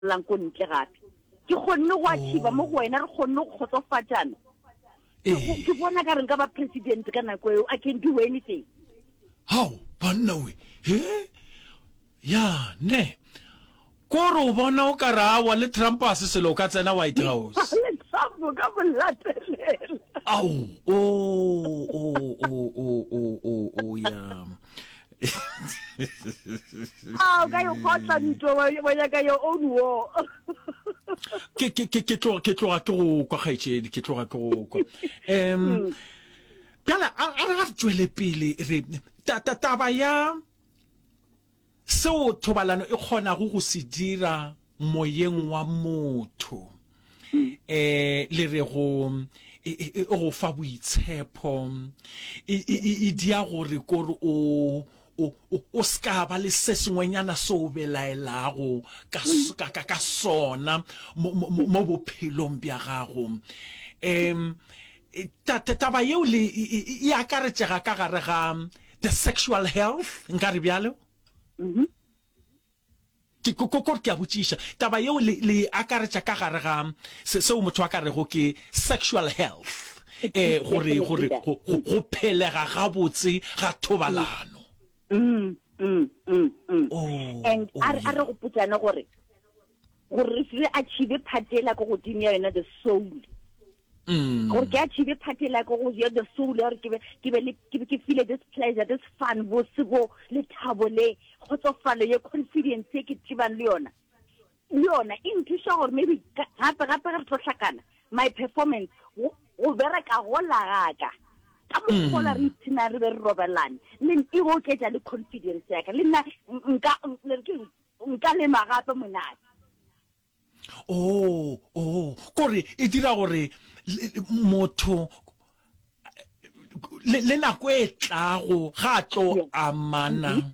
Lang ko ntle gape. Ke kgonne go achieva mo go wena, re kgonne go kgotsofatšana. Ke go- Ke bona ka re nka ba president ka nako eo. I can do anything. Hao, banna we. He? Ya, ne. Ko re o bona o ka re awa le Trump a se selo o ka tsena White House. Le Trump o ka mo latelela. Ao, o, o, o, o, o, o, o, ya. A o ka e kgotla ntwa wa wa nyaka your own war. Ke ke ke ke tloga ke tloga ke go kwa kgaetšedi ke tloga ke go kwa. Um bjale a a re ga re tšwele pele re ta ta taba ya seo thobalano e kgonago go se dira moyeng wa motho eh le re go e, e, e go fa boitshepo e, e, e, e dia gore kore o o o ska ba le se sengwenyana se o belaelago ka, ka, ka, ka sona mo, mo, mo bophelong bja gago um taba yeo le e, e akaretšega ka gare ga the sexual health nka re bjalo mm -hmm. Ke, ko, ko, ke a botšiša, taba yeo le, le e akaretša ka gare ga se, seo motho a ka rego ke sexual health, eh, gore, gore go, go, go phelega gabotse ga thobalano. Mm, mm, mm, mm. Oh, And oh, a re, a re yeah. gopotšane gore, gore re se achieve part ela ko godimo ya yona the soul. Gore ke achieve part ela ko go ya the soul ya gore ke be, ke be le, ke be ke feel this pleasure, this fun, bose bo, lethabo le, kgotsofalo ye, confidence ye ke tsebang le yona. Le yona e nthuša gore maybe gape, gape ge re tlo hlakana, my performance, go, go bereka gola ga ka, ka mokgola re ipshina re be re robalane, le e oketša le confidence ya ka. Le nna nka, le re ke eng? Nka lema gape monate. Oh, oh, kore e dira gore motho le, le nako e tlago ga a tlo amana mm-hmm.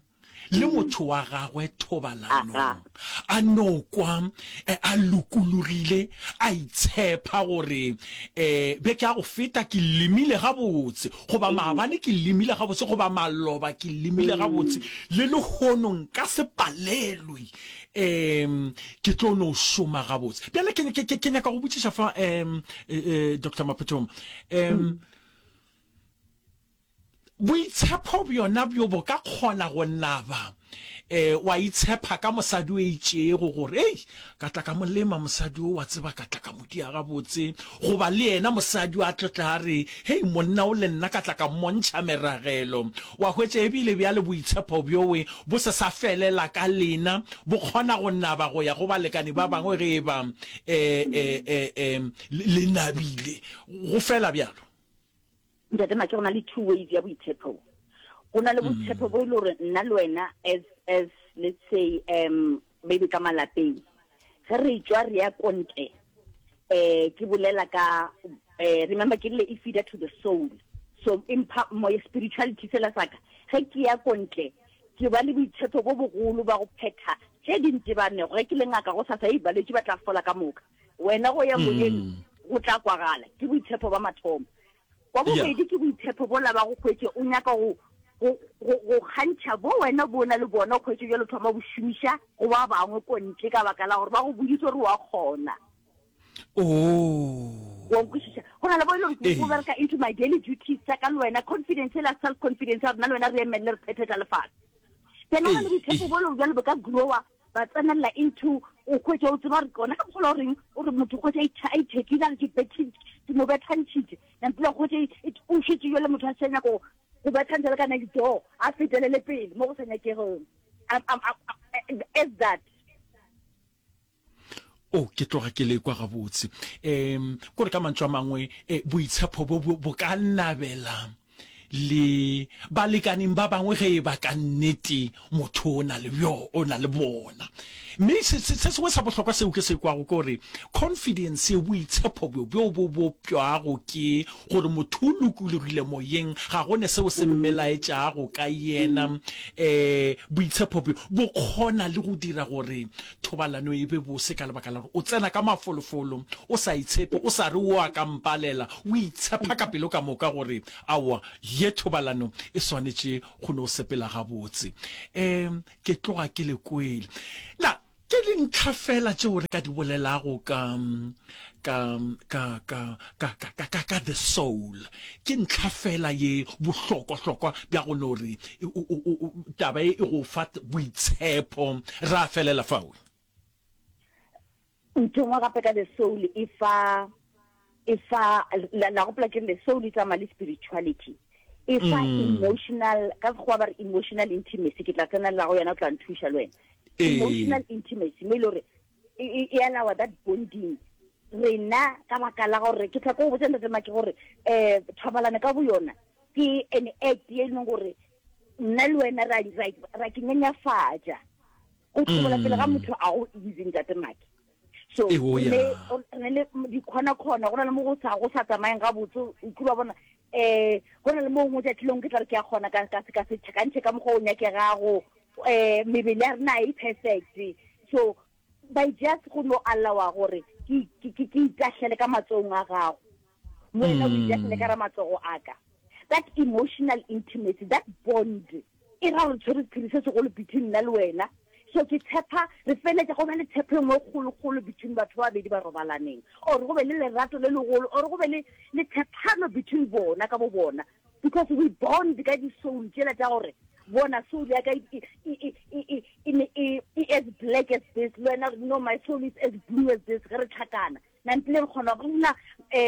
le motho wa gagwe thobalanong a no kwa eh, a lokologile a itshepa gore um beke ya go feta ke lemile gabotse goba maabane ke lemile gabotse goba maloba ke lemile gabotse le lehono nka se palelwe um ke tlo no šoma gabotse. Bjale ke, ke, ke, ke nyaka go botšiša fa um Doctor Maphuthuma um boitshepo bjona bjo bo ka kgona go naba um wa itshepa ka mosadi o itšego gore ei ka tla ka mo lema mosadi o wa tseba ka tla ka mo dia gabotse goba le yena mosadi o a tlo tla a re hei monna o le nna ka tla ka mmontšha meragelo wa hwetša ebile bjale boitshepo bjowe bo se sa felela ka lena bo kgona go naba go ya go balekane ba bangwe ge e ba um um le nabile go fela bjalo. Ntate Make, go na le two ways ya boitshepo. Go na le boitshepo bo e le gore nna le wena as, as let's say um maybe ka malapeng ge re tšwa re ya kontle eh ke bolela ka eh remember ke rile e feeder to the soul so empha moya spirituality sela saka ge ke ya kontle ke ba le boitshepo bo bogolo ba go phetha tše di ntebanego ge ke le ngaka go sasa e balwetši ba tla fola ka moka wena go ya moyeng go tla kwagala ke boitshepo ba mathomo Wa bobedi ke boitshepo bola ba go hwetše o nyaka go, go, go, go kgantšha bo wena bo na le bona, o hwetše bjalo thoma bo šomiša go ba bangwe ko ntle ka baka la gore ba go boditse gore wa kgona. Oh. Wa nkwešiša? Go na le bo e le gore go bereka into my daily duties tša ka le wena, confidence ela, self confidence ya rena le wena re emelele re phethe tša lefase. Then go na le boitshepo bo le bjalo bo ka grower ba tsenelela into o hwetša o tseba gore gona ka mokgwa o reng o re motho hwetša a ithekile a re ke bethe ke mo bethantšhitše nampile hwetša o šetše jale motho a sa nyako go bethantšha le ka next door a fetelele pele mo go sa nyakegong as that O, ke tloga ke le kwa gabotse. Um, kore ka mantšu a mangwe, eh, boitshepho bo bo ka nabela le balekaneng ba bangwe ge e ba ka nnete motho o na le bjo, o na le bona. Mme se, se, se sengwe sa bohlokwa seo ke se kwago ke gore confidence ye, boitshepho bjo bjo bo bopšwago ke gore motho o lokologile moyeng, ga go ne seo se mmelaetšago ka yena. Um boitshepho bjo bo kgona le go dira gore Thobalano e be bose ka lebaka la gore o tsena ka mafolofolo, o sa itshepe, o sa re o a ka mpalela, o itshepa ka pelo ka moka gore aowa ye thobalano e swanetše go no sepela gabotse. Um ke tloga ke le kwele. Na. Ke dintlha fela tšeo re ka di bolelago ka, ka, ka, ka, ka, ka, ka, ka, ka the soul. Ke ntlha fela ye bohlokwa-hlokwa bja go no re o, o, o, taba ye e go fa boitshepo. Ra felela fao. Ntho engwe gape ka the soul e fa, e fa, la, la gopola ke re the soul e tsamaya le spirituality. E fa emotional, ka Sekgowa ba re emotional intimacy, ke tla tsenelela go yona o tla nthuša le wena. Emotional intimacy, mo e le gore e, e, e allowa that bonding. Rena ka baka la gore, ke tla ko go botša Ntate Maki gore um thobalano ka boyona ke an act ye e leng gore nna le wena ra, ra, ra ke nyenyafatša. Go hlobola pele ga motho a go easy Ntate Maki. So re ne le dikhona-khona, go na le mo go sa go sa tsamayeng gabotse, o kile wa bona eh go na le mo gongwe tšatši lengwe ke tla re ke a kgona ka ka ka se tlhakantšhe ka mokgwa o nyakegago, eh mebele ya rena e perfect. So by just go no allowa gore ke ke ke itahlele ka matsogong a gago, le wena o itahlele ka ra matsogo a ka. That emotional intimacy, that bond, e ra gore tshwere sephiri se segolo between nna le wena. So ke tshepa re feletša go ba le tshepo e nngwe kgolokgolo between batho ba babedi ba robalaneng, or go be le lerato le legolo, or go be le le tshepano between bona ka bo bona, because we bond ka di-soul tšela tša gore bona soul ya ka e, e, e, e, e, e, e, e as black as this, le wena no my soul is as blue as this. Ge re tlhakana nampile re kgona go rena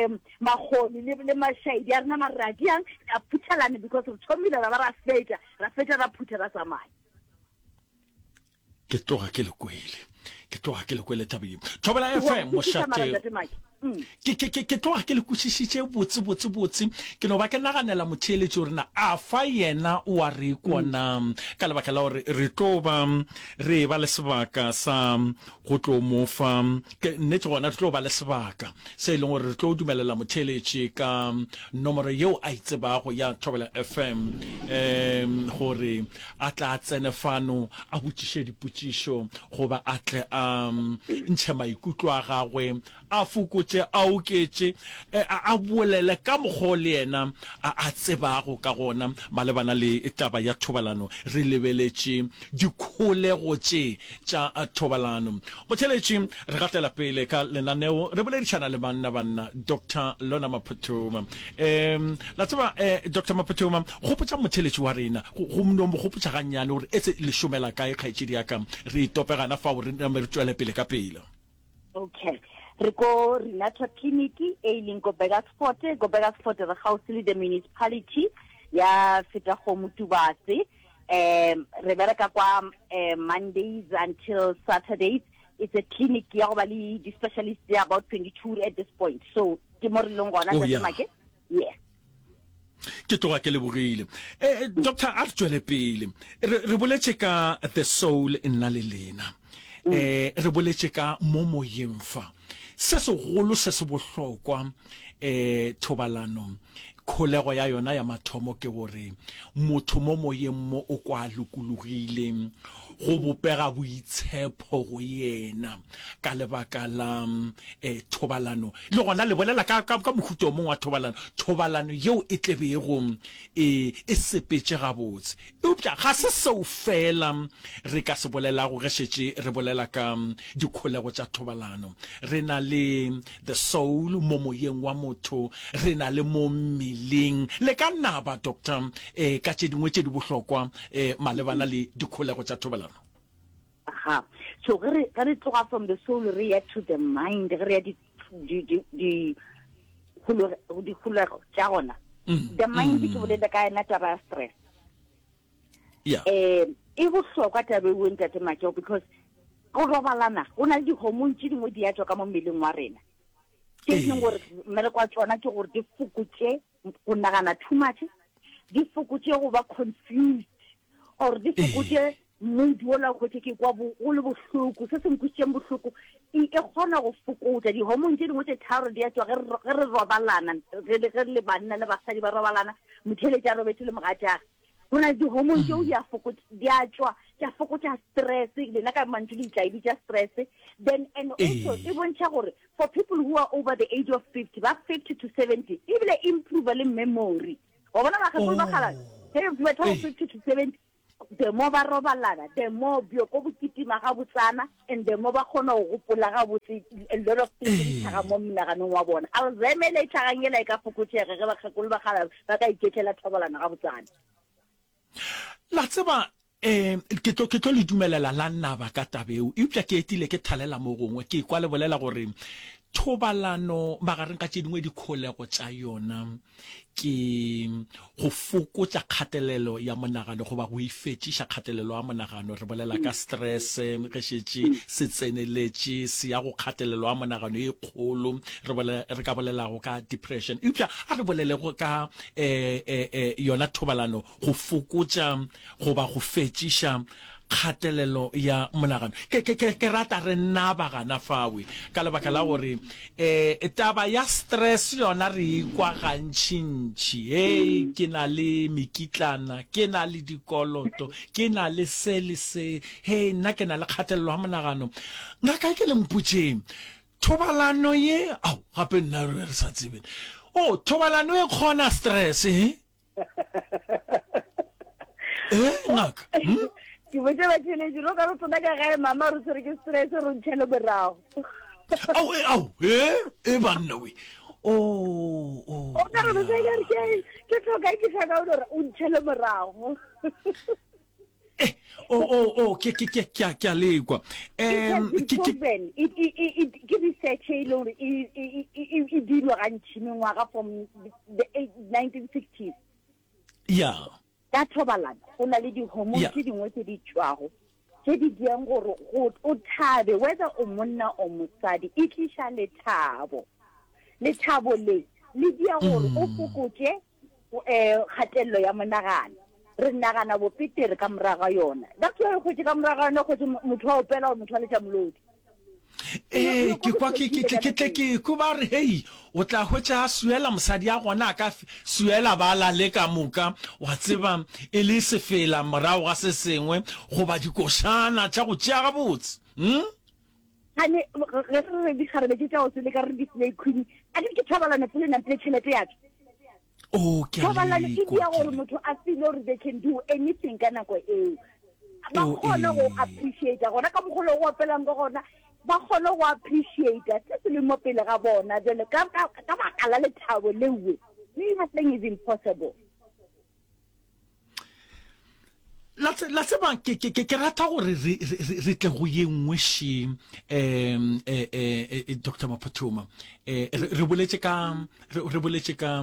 um makgoni le, le mašaedi a rena mare ra diang ra phuthelane because re thomile ra ba ra fetša ra fetša ra phutha ra tsamaya. Ke tloga ke le kwele, ke tloga ke le kwele taba ye. Thobela FM mošate. Ke, ke, ke, ke tloga ke le kwešišitše botse, botse, botse. Ke no ba ke naganela motheeletši gore na a fa yena o a re kwa na, ka lebaka la gore re tlo ba re eba le sebaka sa go tlo mo fa, ke nnete gona re tlo ba le sebaka se e leng gore re tlo dumelela motheeletši ka nomoro yeo a e tsebago ya Thobela FM um gore a tla tsene fano a botšiše dipotšišo goba a tle a ntšhe maikutlo a gagwe, a fokotše, a oketše, a bolele ka mokgwa o le yena a tsebago ka gona malebana le taba ya thobalano, re lebeletše dikholego tše tša thobalano. Motheeletši, re gatela pele ka lenaneo, re boledišana le banna banna, Doctor Lona Maphuthuma. Um, la tseba, eh, Doctor Maphuthuma, gopotša motheeletši wa rena, go, go no mo gopotša gannyane gore etse le šomela kae, kgaetšedi ya ka, re itope gana fao re name re tšwele pele ka pela. Okay. Re ko Renata Clinic e e leng ko Burgersfort, ko Burgersfort re gaufi le the municipality ya Fetakgomo Tubatse. Um re bereka kwa um Mondays until Saturdays. It's a clinic ya go ba le di-specialist tse about 22 at this point. So ke mo re leng gona Oh, yeah. Make. Yeah. Ke tloga ke lebogile. Eh, doctor, a re tšwele pele. Re, re boletše ka the soul nna le lena. Eh, re boletše ka mo moyeng fa. Se segolo se se bohlokwa eh thobalano kholego ya yona ya mathomo ke gore motho mo moyeng mo o kwa lokologile go bopega boitshepho go yena ka lebaka la eh, thobalano. Le gona le bolela ka, ka, ka mohuta o mongwe wa thobalano, thobalano yeo e tlebego e, e sepetše gabotse. Eupša ga se seo feela re ka se bolelago ge šetše re bolela ka dikholego tša thobalano. Re na le the soul mo moyeng wa motho, re na le mo mmeleng. Le ka naba, Doctor, eh, ka tše dingwe tše di bohlokwa eh, malebana le dikholego tša thobalano. Aha. So ge re ge re tloga from the soul re ya to the mind, ge re ya di di di di dikholego tša gona. Mm, the mind ke mm. bolela ka yona taba ya stress. Yeah. Eh e bohlokwa taba eo ntate Makeo because go robalana go na le di-hormone tše dingwe di ya tšwa ka mo mmeleng wa rena tše e leng gore mmereko wa tšona ke gore di fokotše go nagana too much, di fokotše go ba confused or di fokotše mood wola o hwetše ke kwa go le bohloko, se se nkwisitšeng bohloko, e, e kgona go fokotša di-hormone tše dingwe tše tharo di a tšwa ge re robalana, ge re le banna le basadi ba robalana, motheeletši a robetše le mogatšage. Go na le di-hormone tšeo di a di a tšwa tša fokotša stress, lena ka mantšu le tla e bitša stress. Then and also e bontšha gore for people who are over the age of 50, ba 50 to 70, ebile improve le memory. Wa bona bakgekolo ba kgala, ge batho ba 50 to 70. The more ba robalana, the more bjoko bo kitima gabotsana and the more ba kgona go gopola gabotse a lot of things di tlhaga mo monaganong wa bona. Alzheimer e tlhagang ela e ka fokotšega ge bakgekolo ba kgala ba ka iketlela thobalano gabotsana. La tseba, um ke tlo, ke tlo le dumelela la naba ka taba eo, eupša ke etile ke thalela mo gongwe, ke kwa le bolela gore thobalano magareng ga tše dingwe dikholego tša yona ke go fokotša kgatelelo ya monagano goba go ifetšiša kgatelelo ya monagano. Re bolela ka stress ge šetše se tseneletše se ya go kgatelelo ya monagano e kgolo, re bolela, re ka bolelago ka depression. Eupša a re bolelego ka eh, eh, eh, yona thobalano go fokotša goba go fetšiša kgatelelo ya monagano. Ke, ke, ke, ke rata re naba gana fawe, ka lebaka la gore um taba ya stress yona re ikwa gantšintši. Hei, ke na le mekitlana, ke na le dikoloto, ke na le se le se, hei, nna ke na le kgatelelo ya monagano. Ngaka e ke le mpotšeng, thobalano ye, ao, gape nna re re sa tsebe. Oh, thobalano e kgona stress, he? Eh, ngaka. Hmm? Ke botse batheletši ro ka re tsena ka gae mama re tshwere ke stress re ntšhele morago. Ao, eh, ao, eh, eh banna we. Oh, oh. O ka re re ke ke ke tlhoka ke tlhoka o re o ntšhele morago. Eh, oh, oh, oh, ke ke ke ke ke a lekwa. Um, ke ke ke research e leng gore e e e e dirwa gantši mengwaga from the 1960s. Yeah. Ka thobalano go na le di-hormone tse dingwe tse di tšwago tse di diang gore go o thabe whether o monna o mosadi e tliša lethabo. Lethabo le le dia gore o mm. fokotše um kgatelelo ya monagano re nagana bopetere ka morago ga yona that's why kgwetše ka morago ga yona kgwetše motho wa opela gore motho wa letša molodi ee ke kwa ke ke ke tle ke ko ba re hei o tla hwetša a suela mosadi ya gona a ka suela ba lale ka moka wa tseba e le sefela morago ga se sengwe goba dikošana tša go tšea gabotse hmm? Gane ge re re dikgarebe tše tša go seleka re di-slay queen, a ke ke thobalano pele nampile tšhelete ya tšwa. Oh, ke a Thobalano e lekwa, dia ke gore le- motho a feel gore they can do anything ka nako eo. Ba Oh, kgone go ee. appreciate gona ka mokgwa o go opelang ka gona, ba kgone go appreciate se se leng mo pele ga bona. Jwale ka ka ka baka la lethabo leo, nothing is impossible. La la tseba ke ke ke rata gore re re tle go ye nngwe še um eh eh Dr. Maphuthuma eh re boletše ka re boletše ka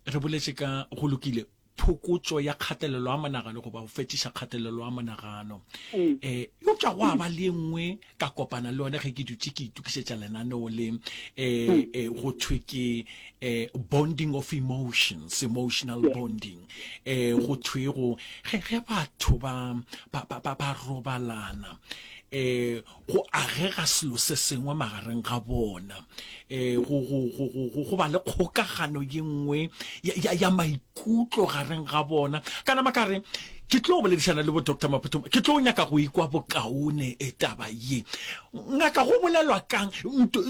re boletše ka go lokile phokotšo ya kgatelelo ya monagano goba go fetiša kgatelelo ya monagano um eupša go a ba le nngwe ka kopana le yone ge ke dutše ke itokišetša lenaneo le um go thwe ke um bonding of emotions emotional bonding um go thwe go ge ge batho ba ba ba ba robalana um go agega selo se sengwe magareng ga bona um go go go go go ba le kgokagano ye nngwe ya ya ya maikutlo gareng ga bona ka nama ka re ke tlo boledišana le bo Doctor Maphuthuma ke tlo nyaka go ikwa bokaone e taba ye ngaka go bolelwa kang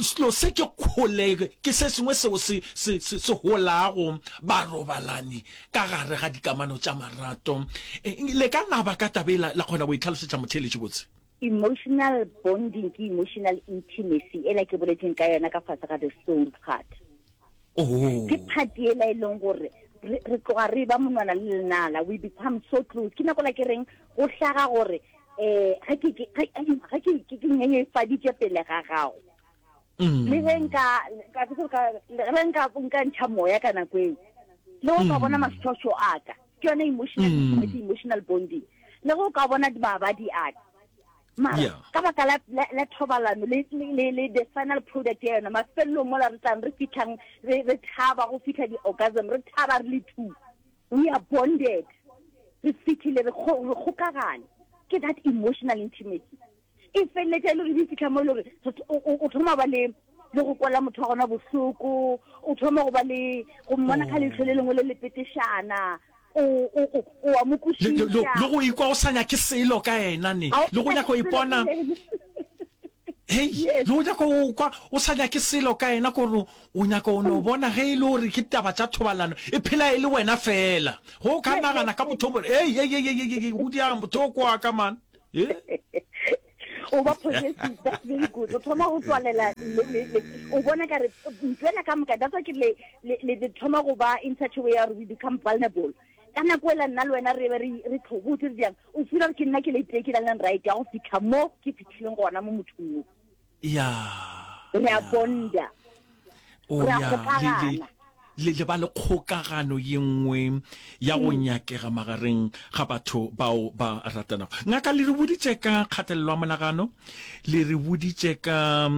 selo se ke kgole ke se sengwe seo se se se se holago barobalani ka gare ga dikamano tša marato le ka naba ka taba e la la kgona go itlhalosetša motheeletši botse Emotional bonding ke emotional intimacy ela ke boletseng ka yona ka fase ga the soul part. Oh. Ke part ela e leng gore re tloga re ba monwana le lenala we become so close ke nako la ke reng go hlaga gore eh ga ke ga ke ke nyenyefaditše pele ga gago mm. le ge nka ka le ge nka nka ntšha moya ka nako eo le go ka bona mm. mašošo a ka ke yone emotional mm. intimacy emotional bonding le go ka bona mabadi a ka mara yeah. ka baka la, la, la thobalano le, le, le the final product ya yona mafelelong mola re tlang re fitlhang re, re thaba go fitlha di-orgasm re thaba re le two we are bonded re fitlhile re kgokagane ke that emotional intimacy e feleletša e le gore di fitlha mo e le gore o thoma ba le le go kwela motho wa gona bohloko o thoma go ba le go mmona ka leitlho le lengwe le le petešana o a mo kwešiša le go ikwa o sa nyake selo ka ena ne le go nyaka go ipona. Hei, Yes. le o nyaka go kwa o sa nyake selo ka yena kore o nyaka o no bona ge e le gore ke taba tša thobalano e phela e le wena fela. Ge o ka Yes, nagana yes, ka yes. motho o mo hei hei hei hei hei go diang motho o kwa ka man. Eh? O ba possessive, that's very good. O thoma go tswalela le, le, le, o bona ka re ntwela ka moka, that's why ke le, le, le, le thoma go ba in such a way ya gore we become vulnerable. Ka nako ela nna le wena re be re, re tlhobotse re diang, o feel gore ke nna ke le tee ke na leng right ya go fitlha mo ke fitlhileng gona mo mothong o. Ya. Re a Ya. bonda. O Re a ya le le kgokagana. le le ba le kgokagano ye nngwe ya go nyakega magareng ga batho bao ba ratanago. Ngaka, le re boditše ka kgatelelo ya monagano, le re boditše ka,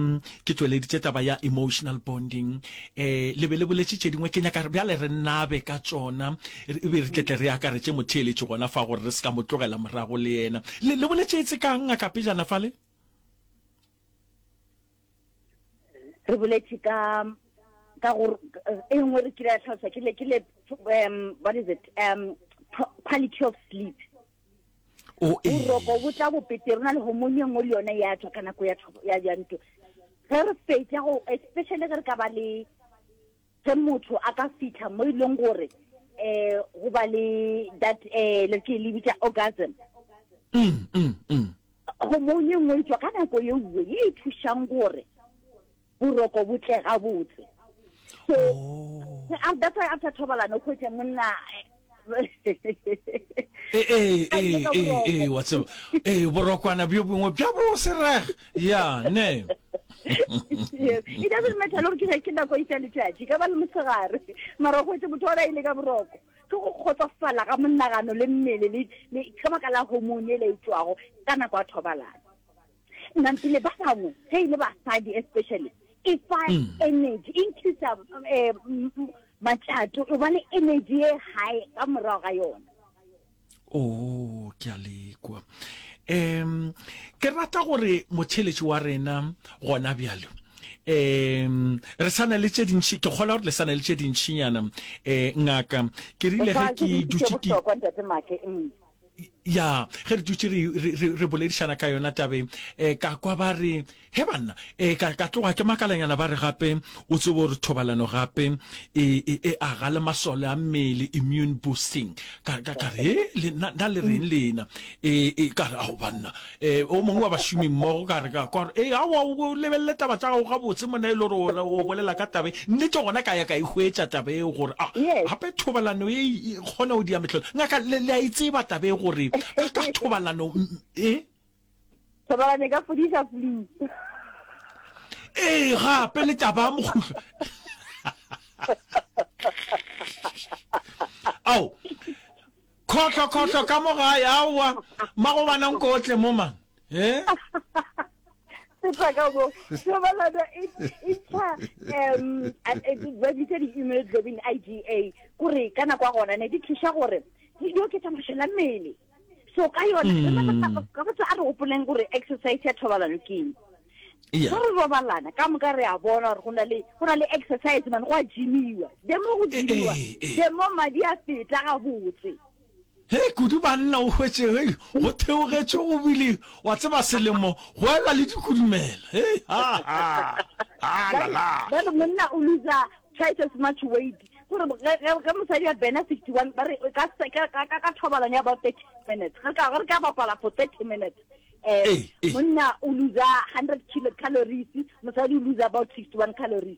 ke tšweleditše taba ya emotional bonding, eh, le be le boletše tše dingwe, ke nyaka bjale re nabe ka tšona, e be re tle tle re akaretše motheeletši gona fa gore re se ka mo tlogela morago le yena. Le, le boletše etse kang, ngaka, pejana fale? Re boletše ka ka gore e nngwe re kile ya tlhalosa ke le ke le um what is it um quality of sleep. O ee. Boroko bo tla bo petere, o na le hormone e nngwe le yone ya tswa ka nako ya ya ya ntho. Ge re fetša go especially ge re ka ba le ge motho a ka fitlha mo e leng gore eh go ba le that eh le ke le bitša orgasm. Mm, mm, mm. Hormone e nngwe e tswa ka nako ye nngwe ye e thušang gore boroko bo tle gabotse. So, Oh. that's why after thobalano o hwetše monna Ee, ee, ee, ee, ee, wa tseba. Ee, borokwana bjo bongwe bja bo sereg. Ya, ne. Yes. It doesn't matter le gore ke ke nako e tša letšatši, ka ba le mosegare. Mara o hwetše motho ona ile ka boroko. Ke go kgotsofala ga monagano le mmele le le ka baka la hormone e le e tšwago ka nako ya thobalano. Nampile ba bangwe ge e le basadi especially e fa mm. energy increase eh, matšato o ba le energy e high ka morago ga yona. Oh, ke a lekwa. Um ke rata gore motheletši wa rena gona bjalo um re sa na le tše dintši ke kgola gore le sa na le tše dintšinyana um ngaka ke rile ge ke dutše ke mm. Ya, ge re dutše re, re, re, re boledišana ka yona tabeng, eh, ka kwa ba re, He banna, eh, ka, ka tloga ke makalanyana ba re gape, o tsebe gore thobalano gape e, e, e aga le masole a mmele, immune boosting. Ka, ka, ka re, he, le, na, na le reng lena? E, e, ka re, ao banna, eh, o mongwe wa bašomi mmogo ka re, ka kwa gore, e, aowa, o lebelele taba tša gago gabotse monna e le gore o, o bolela ka taba e. Nnete gona ka ya ka e hwetša taba eo gore, a, Yes. gape thobalano e e kgona go dia mehlolo. Ngaka, le, le a e tseba taba e gore ka, ka thobalano e? Thobalano e ka fodiša flu. Ee, gape le taba ya mokguhlo. Ao, khohlo, khohlo ka mo gae, aowa, magobana nkotle mo man. Eh? Feta ka mo. Thobalano e e ntsha um ba bitsa di-immunoglobulin IgA kore ka nako ya gona ne di thuša gore di oketša mašole a mmele. So ka yona mm. ka botsa a re gopoleng gore exercise ya thobalano ke eng. Yeah. Ge re robalana ka moka re a bona gore go na le go na le exercise man go a gymiwa. The more go gymiwa, Eh, eh, eh. the more madi a feta gabotse. Hei kudu banna o hwetše hei go theogetše go bile wa tseba selemo go elwa le dikudumela hei ha ha ha la la. Ba re monna o loser twice as much weight gore ge mosadi a bena 61 ba re ka ka ka thobalano ya about 30 minutes ge ka re ka bapala for 30 minutes eh monna o loser 100 kilo calories mosadi o loser about 61 calories.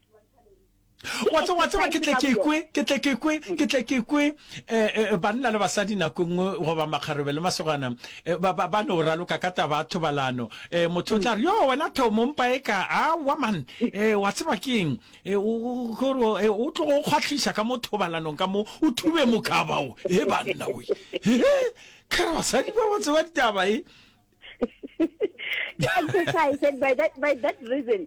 Wa tseba, wa tseba, ke tle ke kwe, ke tle ke kwe, ke tle ke kwe, eh, eh, banna le basadi nako e nngwe, goba makgarebe le masogana, eh, ba, ba, ba no raloka ka taba ya thobalano. Eh, motho o tla re, Yo, wena Thomo, mpa e ka, aowa man, eh, wa tseba ke eng, eh, o, o, gore, eh, o tlogo o kgwahliša ka mo thobalanong ka mo, o thube mokaba o, he banna we. He, ke re basadi ba ba tseba ditaba, e. Ke exercise and by that, by that reason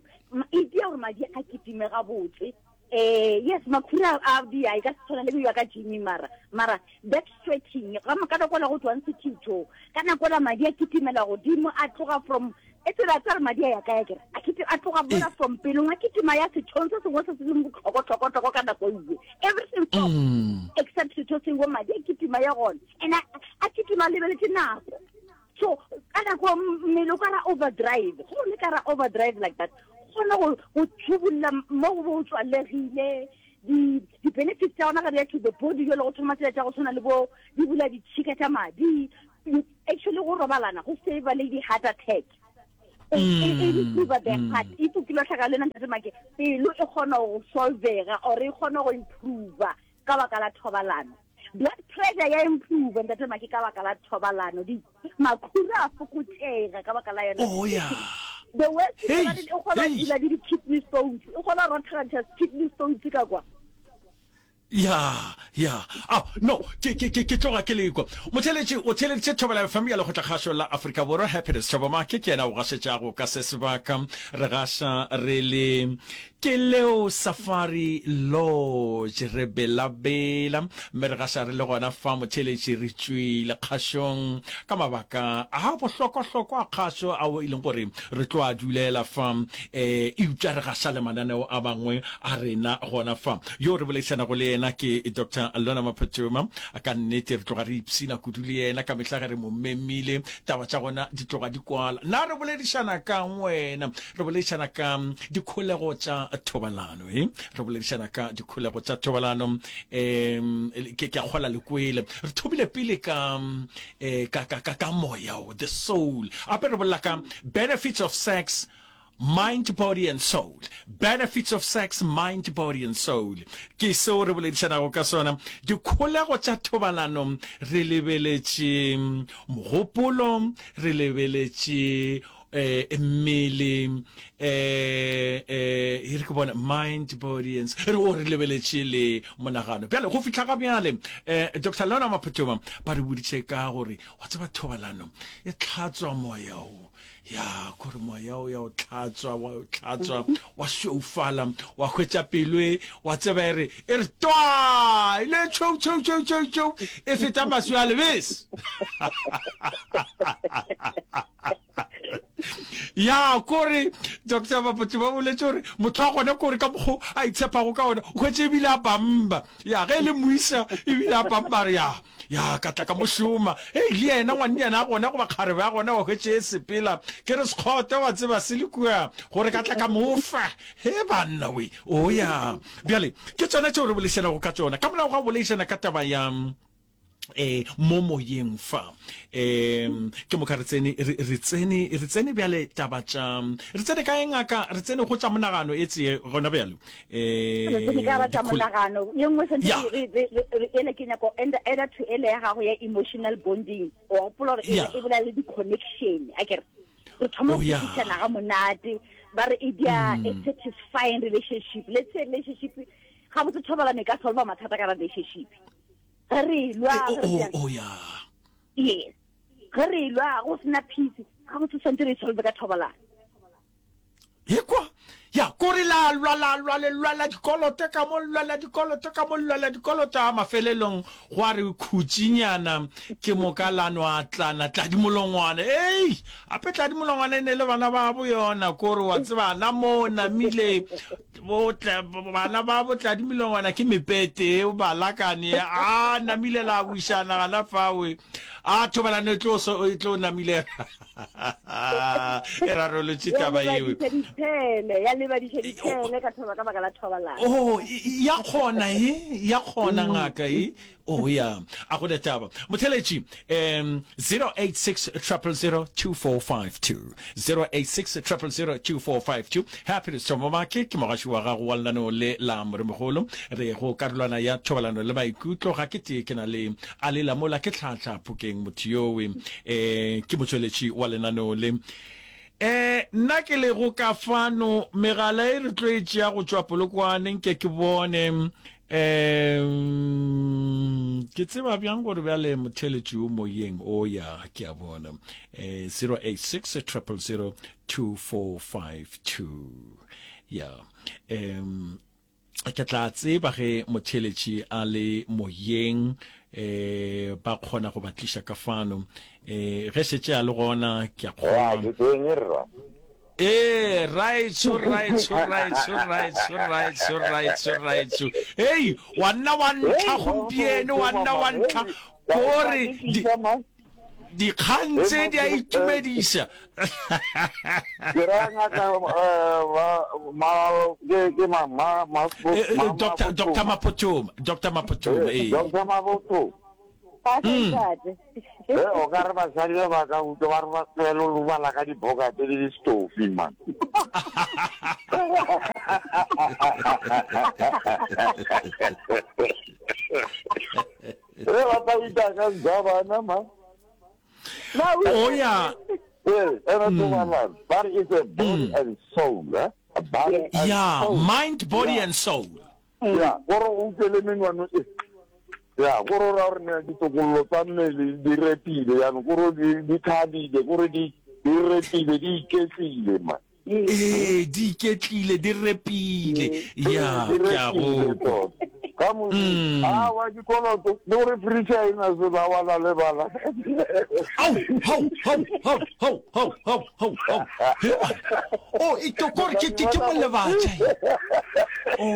e tia gore madi a kitime gabotse. Eh, yes, makhura a di a e ka se tshwana le ya ka gym mara mara that stretching ga ka nako la go tswang sethitho ka nako la madi a kitimela godimo a tloga from e tsela tsa re madi a ya kae kere a kiti a tloga mola eh. from pelong a kitima ya sethong se sengwe se se leng botlhoko tlhoko tlhoko ka nako e everything stops mm. except setho sengwe madi a kitima ya gona and a kitima lebeletse nako so Ka nako mmele o ka ra overdrive, go le ka ra overdrive like that, kgona go go tšhubulla mo go bo tswalegile. Di di benefits tša gona ga di ya to the body jalo go thoma tsela tša go tshwana le bo di bula ditšhika tša madi. Actually go robalana go save le di heart attack. E e improve the heart. If o kile hlaka le nna ntate Make, pelo e kgona go solvega or e kgona go improve ka baka la thobalano. Blood pressure ya improve ntate Make ka baka la thobalano. Di makhura a fokotšega ka baka la yona. Oh yeah. The worst hey, e kgona go dula le di-kidney stones, e kgona go rothagantšha kidney stones ka kwa. Ya, ya. Ah, no, ke, ke, ke, ke tloga ke lekwa. Motheeletši, o theeleditše Thobela FM ya Lekgotlakgašo la Afrika Borwa, Happiness Thabo Make ke yena o gašetšago ka se sebaka. Re gaša re le Ke leo Safari Lodge, re belabela, mme re gaša re le gona fa motheeletši re tšwile kgašong ka mabaka a bohlokwahlokwa a kgašo ao e leng gore re tlo a dulela fa, um eupša re gaša le mananeo a mangwe a rena gona fa. Yo re boledišanago le yena ke Doctor Lona Maphatuma. Ka nnete re tloga re ipshina kudu le yena ka mehla ge re mo memile. Taba tša gona di tloga di kwala. Na re boledišana ka'ng wena? Re boledišana ka dikholego tša thobalano. E? Re boledišana ka dikholego tša thobalano. Um, ke, ke a kgola le kwele. Re thomile pele ka, eh, ka, ka, ka, ka moya, the soul. Gape re bolela ka benefits of sex, Mind, body and soul. Benefits of sex, mind, body and soul. Ke seo re boledišanago ka sona. Dikholego tša thobalano re lebeletše mogopolo, re lebeletše eh, mmele, eh, eh, e re ke bone mind, body and re o re lebeletše le monagano. Bjale go fihla ga bjale eh, Dr. Lona Maphuthuma ba re boditše ka gore wa tseba thobalano e tlhatswa moya o Ya, kore moya o ya o tlhatswa, wa o tlhatswa, wa šweufala, wa hwetša pelo e, wa tseba e re, e re twaa, e le tšhou, tšhou, tšhou, tšhou, tšhou, e feta maswi a lebese. Ya, kore, Doctor Bapotse ba boletše gore motho wa gona kore ka mokgo a itshepago ka ona, o hwetše ebile a bamba. Ya, ge e le moisa, ebile a bamba, a re, ya, Ya, ka tla ka mo šoma. Hei, le yena ngwannyana a gona goba kgarebe ya gona wa hwetše e sepela. Ke re sekgote wa tseba se le kua, gore ka tla ka mo fa. He banna we. O ya. Bjale, ke tšona tšeo re boledišanago ka tšona. Ka morago ga go boledišana ka taba ya eh mo moyeng fa eh ke moka re tsene re re tsene re tsene bjale taba tša re tsene kae ngaka re tsene go tša monagano e tseye gona bjale Re tsene ka ba tša monagano ye nngwe santse ele ke nyako eda to ele ya gago ya emotional bonding o gopola gore e bolela le di-connection a kere re thoma go kwešišana ga monate ba re e dia a satisfying relationship. Let's say relationship gabotse thobalano e ka solva mathata ka relationship ge re lwa yes ge re lwa go sena peace gabotse santse re e solve ka thobalano. Ekwa, ya, kore la lwa, la lwa, le lwela dikoloto ka mo, lwela dikoloto ka mo, lwela dikoloto, a mafelelong gwa re khutšinyana, ke moka la no atlana, Tladimolongwana, ei, ape Tladimolongwana e ne le bana babo yona, kore wa tseba, na mo namile, bo, tla, bana babo Tladimolongwana ke mepete, o ba lakane, a namile la wišana gana fawe, a thobalano e tlo, e tlo namile. e rarolotše taba yeo ya lebadiša ditshele ka thoba ka baka la thobalano oh ya kgona e ya kgona mm. ngaka e oh ya a go taba motheletši um 086 000 2452 086 000 2452 happiness thomomake ke mogaši wa gago wa lenaneo le la moremogolo re go karolwana ya thobalano le maikutlo ga ke tee ke na le a lela mola ke tlhahla phokeng motho yowe um ke motšweletši wa lenaneo le. Um nna ke lego ka fano, megala e re tlo e tšea go tšwa Polokwane, nke ke bone. Um ke tseba bjang gore bjale motheeletši o moyeng? O ya, ke a bona. Um 086 000 2452. Ya. Um Ke tla tseba ge motheeletši a le moyeng, eh, ba kgona go ba tliša ka fano. Eh, ge šetše a le gona, ke a Ya, kgolwa. ke teng rra. Ee, raetsho, raetsho, raetsho, raetsho, raetsho, raetsho, raetsho. Hei, wa nna wa ntlha Hei, gompieno, wa nna wa ntlha. Ka Kore ke di, tliša man. Dikgang tse di a itumediša. Ke ra ngaka ma ke ke ma ma ma Doctor Doctor Maphothoma, Doctor Maphothoma ee. Doctor Maphothoma. Eh, o ka re basadi ba ba ka utlwa ba re ba tlogele go bala ka dibokate le distofi man. Re ba tla ita ka nzabana man. Oh ya. Eh, ena thobalano. Ba re it's a body and soul, eh? A body and Yeah, soul. mind, body Yeah. and soul. Ya, gore o utlwe le menwano e. Ya, gore o ra gore ne ditokololo tsa mmele di repile, jaanong gore di di thabile, gore di di repile, di iketlile man. Ee, di iketlile, di repile. Ya, Di ke a repile go kwa. tota. Ka mosi, awa dikoloto, le gore fridge ha e na selo, awa la lebala. Au, hau, hau, hau, hau, hau, hau, hau, hau. He, a- Oh, e to kore ke ke ke molebatša. Oh,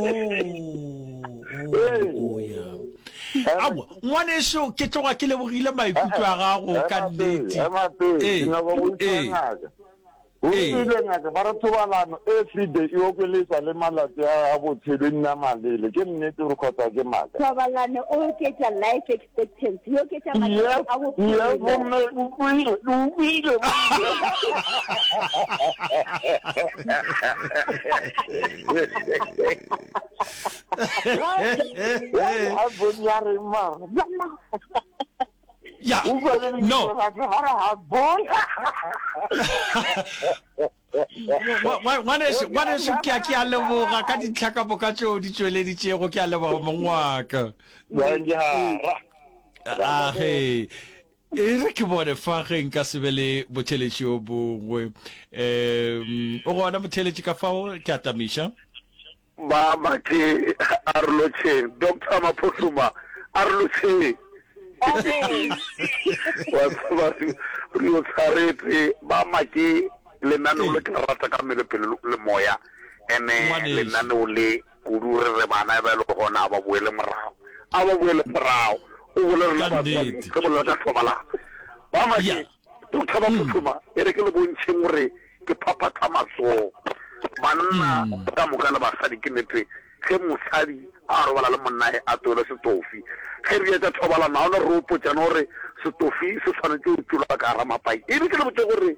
oh, oh, ya. Aowa, ngwaneso, ke tloga ke lebogile maikutlo a gago ka nnete. Ema pele, Ee, ke nyaka go botša ee. ngaka. O Ee. rile ngaka ba re thobalano everyday e okeletsa le malatsi a a botshelo e nna malele. Ke nnete gore kgotsa ke maaka? Thobalano e oketša life expectancy, e oketša malatsi Yes, a yes, bophelo. gomme o kwile, o kwile. A bone ya reng mara? Ya, no. Ngwaneso, ngwaneso, ke a, ke a leboga ka dintlha ka moka tšeo di tšweleditšego. Ke a leboga mong wa ka. A ge e re ke bone fa ge nka se be le motheletši o mongwe. Um, o gona motheletši ka fao, ke a tamiša. Ba Make a re lotšheng. Doctor Maphohluma a re lotšheng. Wa tseba re yo tshwaretse ba Make lenaneo le ke le rata ka mmele pelo le moya ene lenaneo le kudu re re bana ba le gona a ba boele morago a ba boele morago o bolele rena batswadi re bolela ka thobalano ba Make Doctor Maphohluma e re ke le bontšheng gore Ke phaphatha matsogo. Banna ka moka le basadi, ke nete, ge mosadi a robala le monnae a toele setofi. Ge re etša thobalano, ga ona re opotšane gore setofi se swanetše go tšolwa ka gara mapai. E re ke le botše gore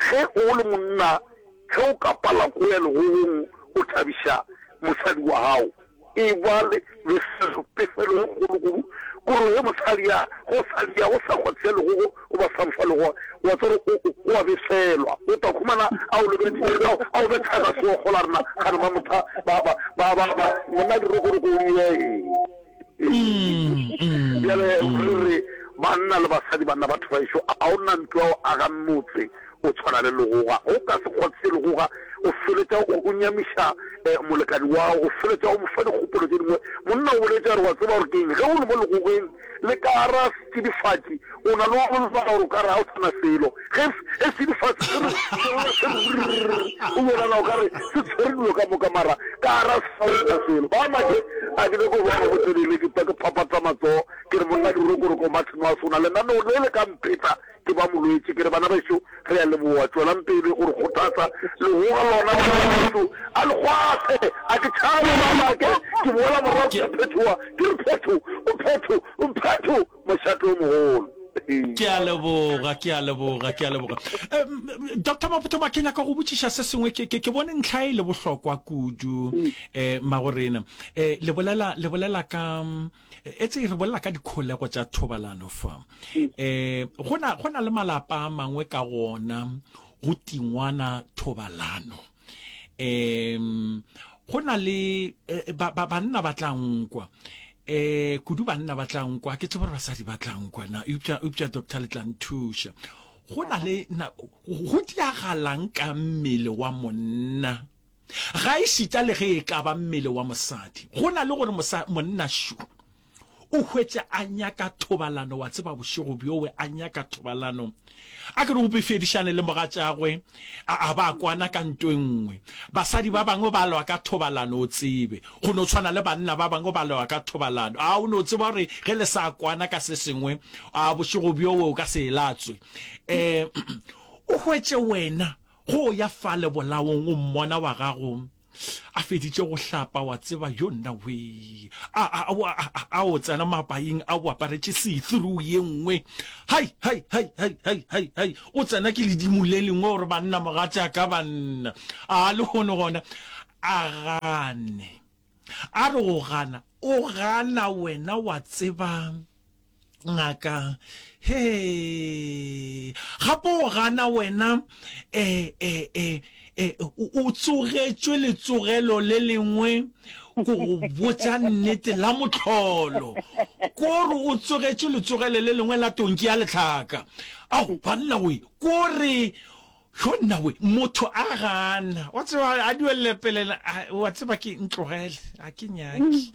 ge o le monna, ge o ka pala ko ya legogong o thabiša mosadi wa gago, E ba le befelo, pefelo e kgolo kudu, gore ge mosadi a go sa dia, go sa kgwathisa legogo goba sa mo fa legoga, wa tseba gore o, o, o a befelwa. O tla khumana a o lebeletše, a, a o betha ka seokgo la rena, gane ba motha, ba, ba, ba, ba, ba, monna dirokoroko o ye. Bjale re re, banna le basadi, banna batho ba ešo, a o na ntlo ya go aga motse, O tshwana le legoga. Ge o ka se kgwathise legoga, o feletša o, o nyamiša eh, molekani wa gago, o feletša o mo fa dikgopolo tše dingwe. Monna o boletše a re, Wa tseba gore ke eng? Ge o le mo legogeng le ka gara setšidifatši, o na le go lebala gore o ka re ga o sa na selo. Ge, ge setšidifatši se re, se lla se re rrrr, o bonala o ka re se tshwere dilo ka moka, mara ka gara ga o sa na selo. Ba make, a ke nyake go ba botelele, ke tla ke phaphatha matsogo, ke re monna dirokoroko Martin wa sona, lenaneo le le ka mpheta Ke ba molwetši. Ke re, Bana bešo, re a leboga. Tšwelang pele go re kgothatsa. Legoga lona, bana bešo, a le kgwathe. A ke tšhabe, mamake. Ke boela morago ke a phethoga. Ke re, Phetho, o phetho, o phetho, mošate o mogolo. Ke a leboga, ke a leboga, ke a leboga. Doctor Maphothoma, ke nyaka go botšiša se sengwe. Ke, ke, ke bone ntlha e le bohlokwa kudu, eh, mmagorena. Eh, le bolela, le bolela ka, Etse re bolela ka dikholego tša thobalano fa. Eh go na go na le malapa a mangwe ka gona go tingwana thobalano. Em go na le eh, ba, ba, banna ba tla nkwa. Eh kudu banna ba tla nkwa ke tsebe gore basadi ba tla nkwa na eupša eupša doctor le tla nthuša. Go na le na go diagalang ka mmele wa monna Gaešita le ge e ka ba mmele wa mosadi, go na le gore mosa, monna šo. O hwetše a nyaka thobalano, wa tseba, bošego bjowe, a nyaka thobalano. A ke re o befedišane le mogatšagwe, a, a ba kwana ka nto e nngwe. Basadi ba bangwe ba lwa ka thobalano, o tsebe. Go no tshwana le banna ba bangwe ba lwa ka thobalano. A o no tseba gore ge le sa kwana ka se sengwe, a bošego bjowe o ka se e latswe. Um, o hwetše wena, go ya fale bolaong o mmona wa gago, A feditše go hlapa, wa tseba, yo nna wee! A, a, a, a, a, a o tsena mapaing a o aparetše see-through ye nngwe. Hai, hai, hai, hai, hai, hai, hai! O tsena ke ledimo le lengwe gore banna mogatšaka banna. A lehono gona a gane. A re go gana, o gana wena wa tseba. Ngaka, Hee! Gape o gana wena, e, e, e, e, o tsogetšwe letsogelo le lengwe, ko go botša nnete, la mohlolo. Ko re o tsogetšwe letsogelo le lengwe la tonki ya lehlaka. Ao, banna we, ko re Yo nna we, motho a gana. Wa tseba, a duelele pele, wa tseba ke ntlogele, a ke nyake.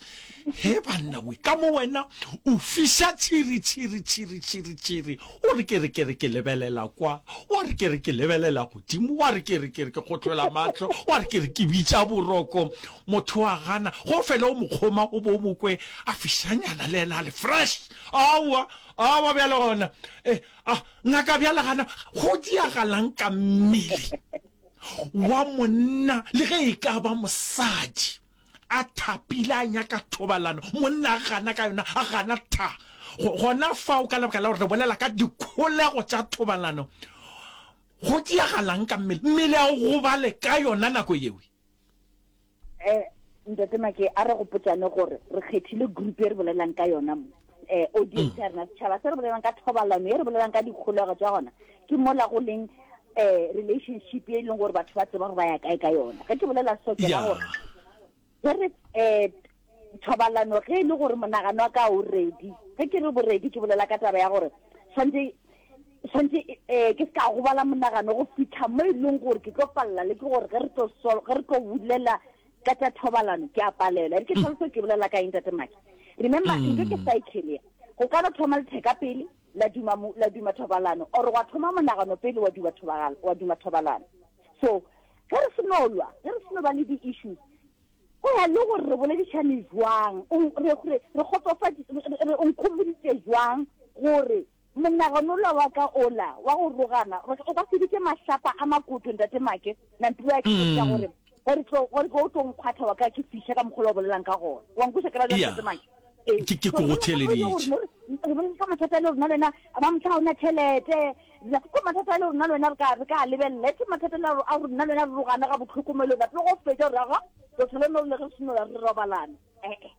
He banna we, ka mo wena o fiša tšhiri, tšhiri, tšhiri, tšhiri, tšhiri. O re ke re ke re ke lebelela kwa, wa re ke re ke lebelela godimo, wa re ke re ke re ke kgotlola mahlo, wa re ke re ke bitša boroko. Motho a gana, go fele o mo kgoma o bo o mo kwe a fišanyana le yena a le fresh. Aowa, aowa bjale gona. Eh, A, ngaka bjale gana go diagalang ka mmele wa monna le ge e ka ba mosadi a thapile a nyaka thobalano, monna a gana ka yona, a gana tha. Gona fao ka lebaka la gore re bolela ka dikholego tša thobalano, go diagalang ka mmele, mmele a o gobale ka yona nako yeo. Eh, Ntate Make, a re gopotšane gore re kgethile group e re bolelang ka yona mo. Eh, audience ya rena, setšhaba se re bolelang ka thobalano, e re bolelang ka dikgolego tša gona, ke mola go leng eh relationship e leng gore batho ba tseba gore ba ya kae ka yona. Ge ke bolela so ke ra gore ge re eh thobalano ge e le gore monagano wa ka o ready, ge ke re boredi ke bolela ka taba ya gore tshwanetse Swantše um ke se ka gobala monagano go fihla mo e leng gore ke tlo palela le ke gore ge re tlo ge re tlo bolela ka tša thobalano ke a palelwa. E re ke tlhaloso ke bolela ka eng Tate Maki. Remember ntho ke cycle ya. Go ka no thoma letheka pele la duma la duma thobalano or gwa thoma monagano pele wa duma thobalano wa duma thobalano. So ge re se no lwa, ge re se no ba le di-issues go ya le gore re boledišane jwang, re re re kgotsofadi re o nkhomoditše jwang gore Monagano ola wa ka ola wa go rogana, o ka se bitše mahlapa a makoto, Ntate Make, Nampilo a ke botša gore gore tlo gore tlo o tlo nkgwatha wa ka ke fiša ka mokgwa o bolelang ka gona. Wa nkweša ke ra bjang, Ntate Make? Ee. Ke ke go theeleditše. Re bolela ka mathata a le rona le wena, ba motho ga o na tšhelete. Ko mathata a le rona le wena re ka re ka lebelela. E se mathata le a rona le wena re rogana ga bohloko mo le wena. Pele go fetša gore aga, re tlhole no le re seno re robalana. Eh eh.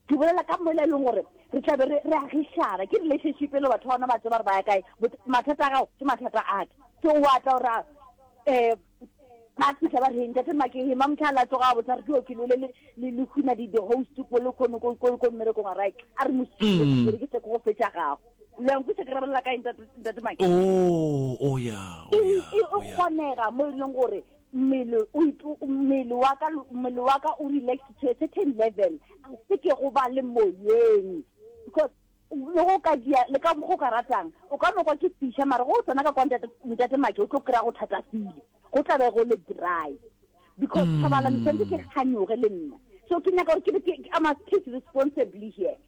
Ke bolela ka mola e leng gore re tla be re re agišana. Ke relationship e le batho ba bona ba tseba gore ba ya kae. Mathata a gago ke mathata a ka. So wa tla gore um ba fitlha ba re ntate Makeye mamtlha a tsoga a botsa re ke ke lole le le huna di host ko le kono ko ko ko mmerekong a right a re mosile mm. ke ke go fetša gago le nku se ke rabelela kae ntate ntate Make oh oh ya oh ya e kgonega mo e leng gore Mmele o mmele wa ka mmele wa ka o relax to a certain level a se ke go ba le moyeng because le go ka dia le ka go ka ratang o ka no kwa ke fiša mara go tsena ka kwa ntate ntate Make o tlo kry-a go thatafile go tla be go le dry because mm. thobalano tshwanetse ke kganyoge le nna so ke nyaka gore ke be ke I must take responsibly here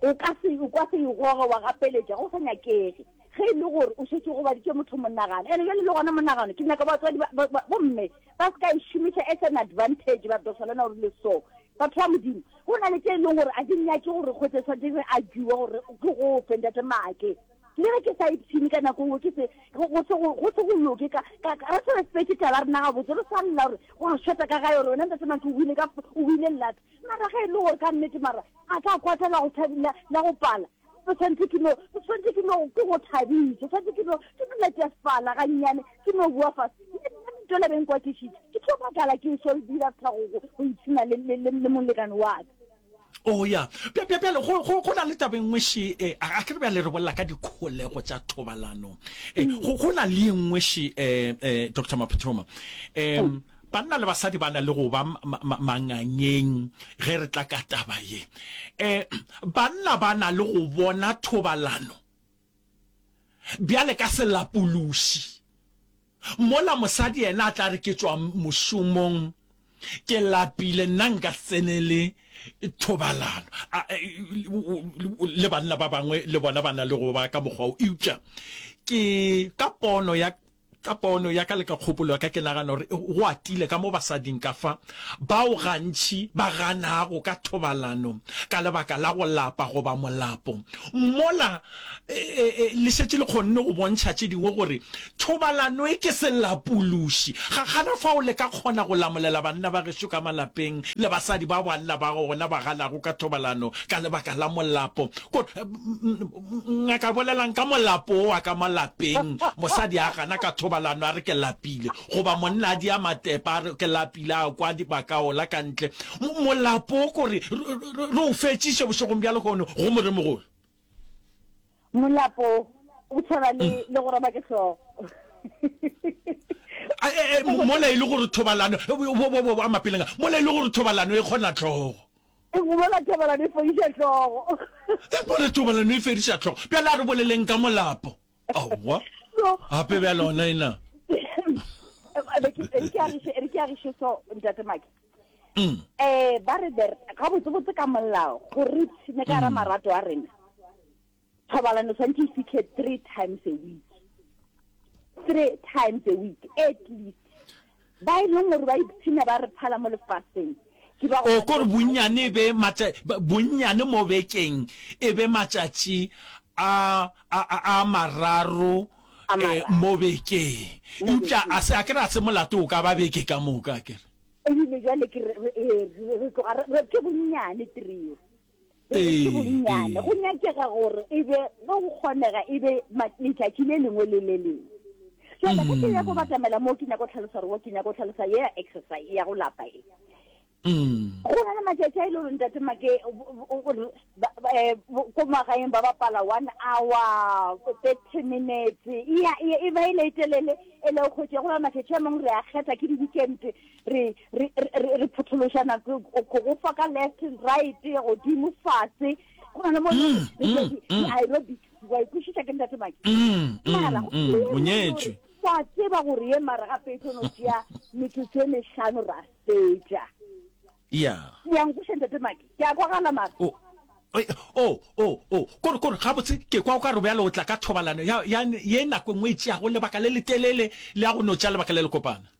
O ka se, o ka se e goge wa gapeletša, go sa nyakege. Ge e le gore o šetše o gobaditše motho monagano, ene bjale le gona monagano, ke nyaka batswadi ba, ba, ba, bomme ba se ka e šomiša as an advantage, ba re Doctor Lena o rile so. Batho ba Modimo, go na le tše e leng gore a di nyake gore kgwetše swanetše re argue gore ke go fe ntate Maake. Le ge ke sa ipshine ka nako nngwe ke se, go, go se go, go se go loke ka, ka, ka, re se respecte taba ya rena gabotse, re sa lla gore wa shota ka gae gore wena ntate Maake o buile ka, o buile llata. Mara ge e le gore ka nnete mara a ka kwata la go la, la go pala, o tshwanetse ke no, o tshwanetse ke no, ke go thabiše, o tshwanetse ke no, ke no letefala gannyane, ke no bua fase. Le nna ditola beng kwatišitše, ke tlo makala ke so dira after go, go, go ipshina le, le, le, le molekane wa ka. Oh ya, bja, bja, bjale go, go, go na le taba e nngwe še, eh, a, a ke re bjale re bolela ka dikholego tša thobalano. Eh, go, go na le e nngwe še, eh, eh, Doctor Maphuthuma. Eh, mm. Banna le basadi ba na le go ba mangangeng ge re tla ka taba ye. Um banna ba na le go bona thobalano bjale ka selapološi, mola mosadi yena a tla re ke tšwa mošomong, ke lapile, nna nka se tsenele thobalano. Le banna ba bangwe le bona ba na le go ba ka mokgwa wo, eupša ke ka pono ya Ka pono ya ka le ka kgopolo ya ka, ke nagana gore go atile ka mo basading ka fa bao gantši ba ganago ka thobalano ka lebaka la go lapa goba molapo. Mola le šetše le kgonne go bontšha tše dingwe gore thobalano e ke selapološi. Ga gana fao le ka kgona go lamolela banna ba gešo ka malapeng le basadi ba banna ba gona ba ganago ka thobalano ka lebaka la molapo. Ko, Ngaka bolelang ka molapo wo wa ka mo lapeng, mosadi a gana ka thobalano a re ke lapile, goba monna a dia matepa a re ke lapile a kwa dibakaola ka ntle. Molapo wo kore re o fetšiše bošegong bja lehono go Moremogolo. Molapo o tshwana le le go roba ke hlogo. Mola e le gore thobalano, a mapeleng a, mola e le gore thobalano e kgona hlogo. E bolela thobalano e fodiša hlogo. E bolela thobalano e fediša hlogo. Bjale a re boleleng ka molapo. Aowa. Gape bjale ona ena. E ke agiše so ntate Maki. Mm. Eh ba re gabotsebotse ka molao gore re ipshine ka gara mm. marato a rena. Thobalano tshwanetse e fitlhe three times a week. Three times a week at least. Ba e leng gore ba ipshina ba re phala mo lefaseng. Ke ba O kore bonnyane e be matša, bonnyane mo bekeng e be matšatši a, a, a, a mararo A eh, mararo. mo bekeng. Mo Eupša a bekeng. se, a ke re a se molato o ka ba beke ka moka, a ke re. Ebile jwale ke re, re, eh, re, re tloga re, re, ke bonnyane three. Ke bonnyane. Go nyakega gore e be, ge go kgonega, e be letšatši le lengwe le le lengwe. Jwale ge ke ya go batamela moo ke nyako tlhalosa gore ke nyako tlhalosa ye ya exercise ya go lapa e. Go na le matšatši a e le gore ntate Make ko magaeng ba bapala one hour, 30 minutes, e ba e le e telele e le go kgwetše. Go na le matšatši a mangwe re a kgetha ke di-weekend re re re re phothološana go go fa ka left and right godimo fase go na le mo mm, mm, mm. aerobics wa ikwešiša ke ntate Mike mara o nyetšwe wa tseba gore ye mara gape e tlo no tšea metsotso e mehlano ra fetša ya ya nkweša ntate Mike ke a kwagala mara o o o o kore kore gabotse ke kwa o ka re bjale o tla ka thobalano ya ya ye nako e nngwe e tšeago lebaka le letelele le ya go no tšea lebaka le lekopana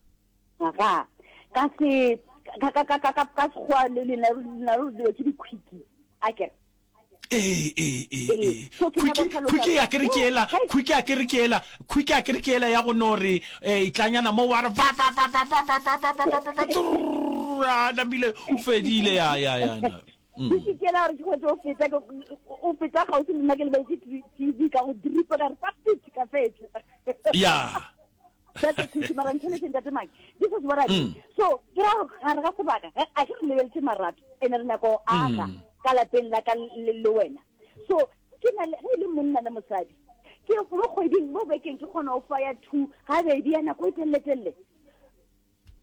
Aga, ka se, ka, ka, ka, ka, ka, ka sekgowa le lena, lena re dilo tse di-quickie, a kere? Ee, ee, ee, ee. So ke nyaka go hlalosa Quickie a ke re ke ela, quickie a ke re ke ela, quickie a ke re ke ela ya go no re, eh, tlanyana mo wa re va, va, va, va, va, va, va, va, va, va, va, va, tsrrr, a namile, o fedile, ya, ya, ya, na. Quickie ke ela gore ke hwetše o feta, o feta kgauswi le nna ke lebeletse TV ka go dripa ka re fa, ka fetša. Ya. That's a quickie, mara ntheletše ntate Mike. This is what I mean. So, ke ra gore gare ga sebaka, ge a ke re lebeletše marato, ene re nyaka go aga ka lapeng la ka le, le wena. So, ke na le, ge e le monna le mosadi, ke mo kgweding, mo bekeng ke kgona go fa ya two, gabedi ya nako e telele-telele.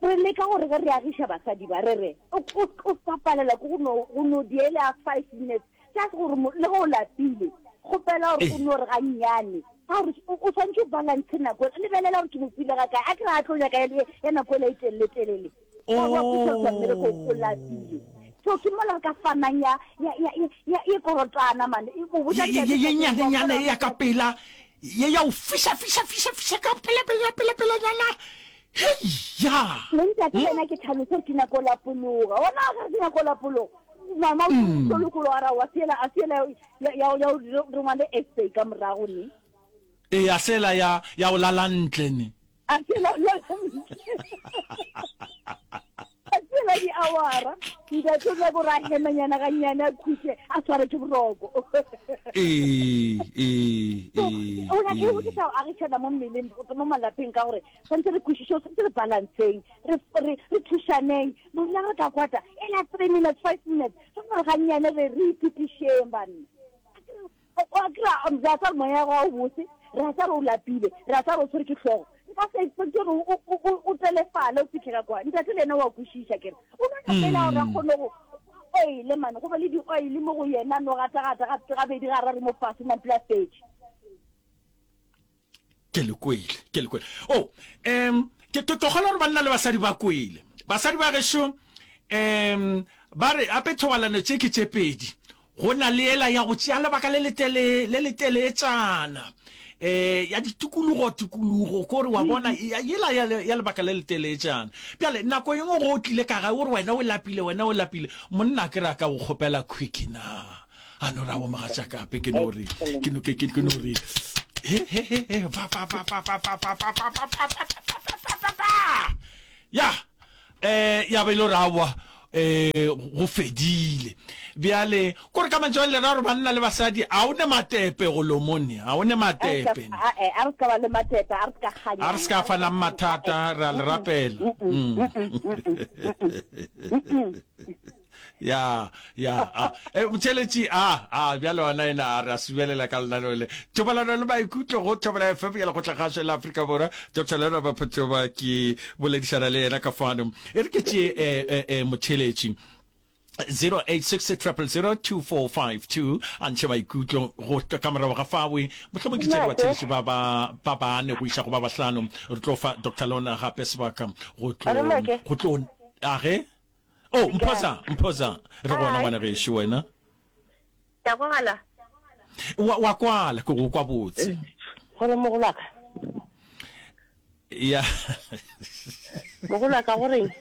Re leka gore ge re agiša basadi ba, re re, o, o, o sa palelwa ke go no, go no diela five minutes, just gore mo, le ge o lapile, kgopela gore o no re gannyane, ka gore o, o swanetše o balance nako, lebelela gore ke mo file ga kae, a ke re a tlo nyaka ya, ya nako ela e telele-telele, wa, wa khuša mmereko, o lapile. So ke mola re ka fanang ya, ya, ya, ya, ya, ye korotana man, e go botša Ye, ye, ye nnyane-nyane ye ya ka pela, ye ya go fiša, fiša, fiša, fiša ka pela, pela, pela, pelanyana. Hei-ya! Le ntate le yena ke tlhalose gore ke nyako lapologa. Ona a re ke nyako lapologa. Mama o tlo lokologa ra wa siela a siela ya ya ya re ngwale essay ka morago ne. Ee, a sela ya ya go lala ntle ne. A siela ya A siela di awara. Ntate o nyako ra hemanyana ga nyane a khutše a sware ke boroko. Ee, ee, ee. O nyaka o ke sa agišana mo mmeleng mo malapeng ka gore Tshwanetse re kwešiše, tshwanetse re balanceng, re, re, re thušaneng. Monna re ka kwata, e la three minutes, five minutes, re gore gannyane re, re ipitišeng, banna. A kry-a, re a tsa re moya wa o bose, re a tsa re o lapile, re a tsa re o tshwere ke hlogo. Nka se expecte gore o, o, o, o telefale o fihle ka kwa. Ntate le yena wa kwešiša ke re. O no nyaka fela gore a kgone go oile man, go be le di-oil mo go yena, no gata-gata ga, gabedi gararo mo fase man pele a fetše. Ke le kwele, ke le kwele. Oh, um, ke, ke kgolwa gore banna le basadi ba kwele. Basadi ba gešo, um, ba re ape thobalano tše ke tše pedi. Go na le yela ya go tšea lebaka le letele, le leteletšana, um ya ditikologo, tikologo, ko re wa bona, yela ya, ya lebaka le leteletšana. Bjale, nako e nngwe ge o tlile ka gae, o re wena o lapile, wena o lapile, monna a ke re a ka go kgopela quickie na? A no re, aowa mogatšaka, ape ke no re, ke no, ke, ke, ke no re, he, he, he, he, fa, fa, fa, fa, fa, fa, fa, fa, fa, fa, fa, fa, fa, fa, fa, fa, fa. Ya, eh, ya ba e le gore aowa, eh, go fedile. Bjale, kore ka mantšu a le ra gore banna le basadi, a o ne matepe go lomone, a o ne matepe. A re se ka ba le matepe, a re se ka kganyana. A re se ka fanang mathata, re a le rapela. Ya, ya, a. E, motšheletši, a, a, bjale ona ena a re a subelela ka lenaneo le. Thobalano le maikutlo go Thobela FM ya Lekgotlakgašo la Afrika Borwa. Dr. Lona Baphotoba ke boledišana le yena ka fano. E re ke tšee e, e, e, motšheletši. 0860002452 a ntšhe maikutlo go ka morago ga fawe mohlomong ke tšere batheletši ba ba ba bane go iša go ba bahlano re tlo fa Dr. Lona gape sebaka go tlo go tlo a ge Oh, Mphoza, Mphoza, re gona ngwana gešo wena. Ke a kwagala? Wa, wa kwala, ke go kwa botse. Gore mogolwaka. Ya. Mogolwaka go reng?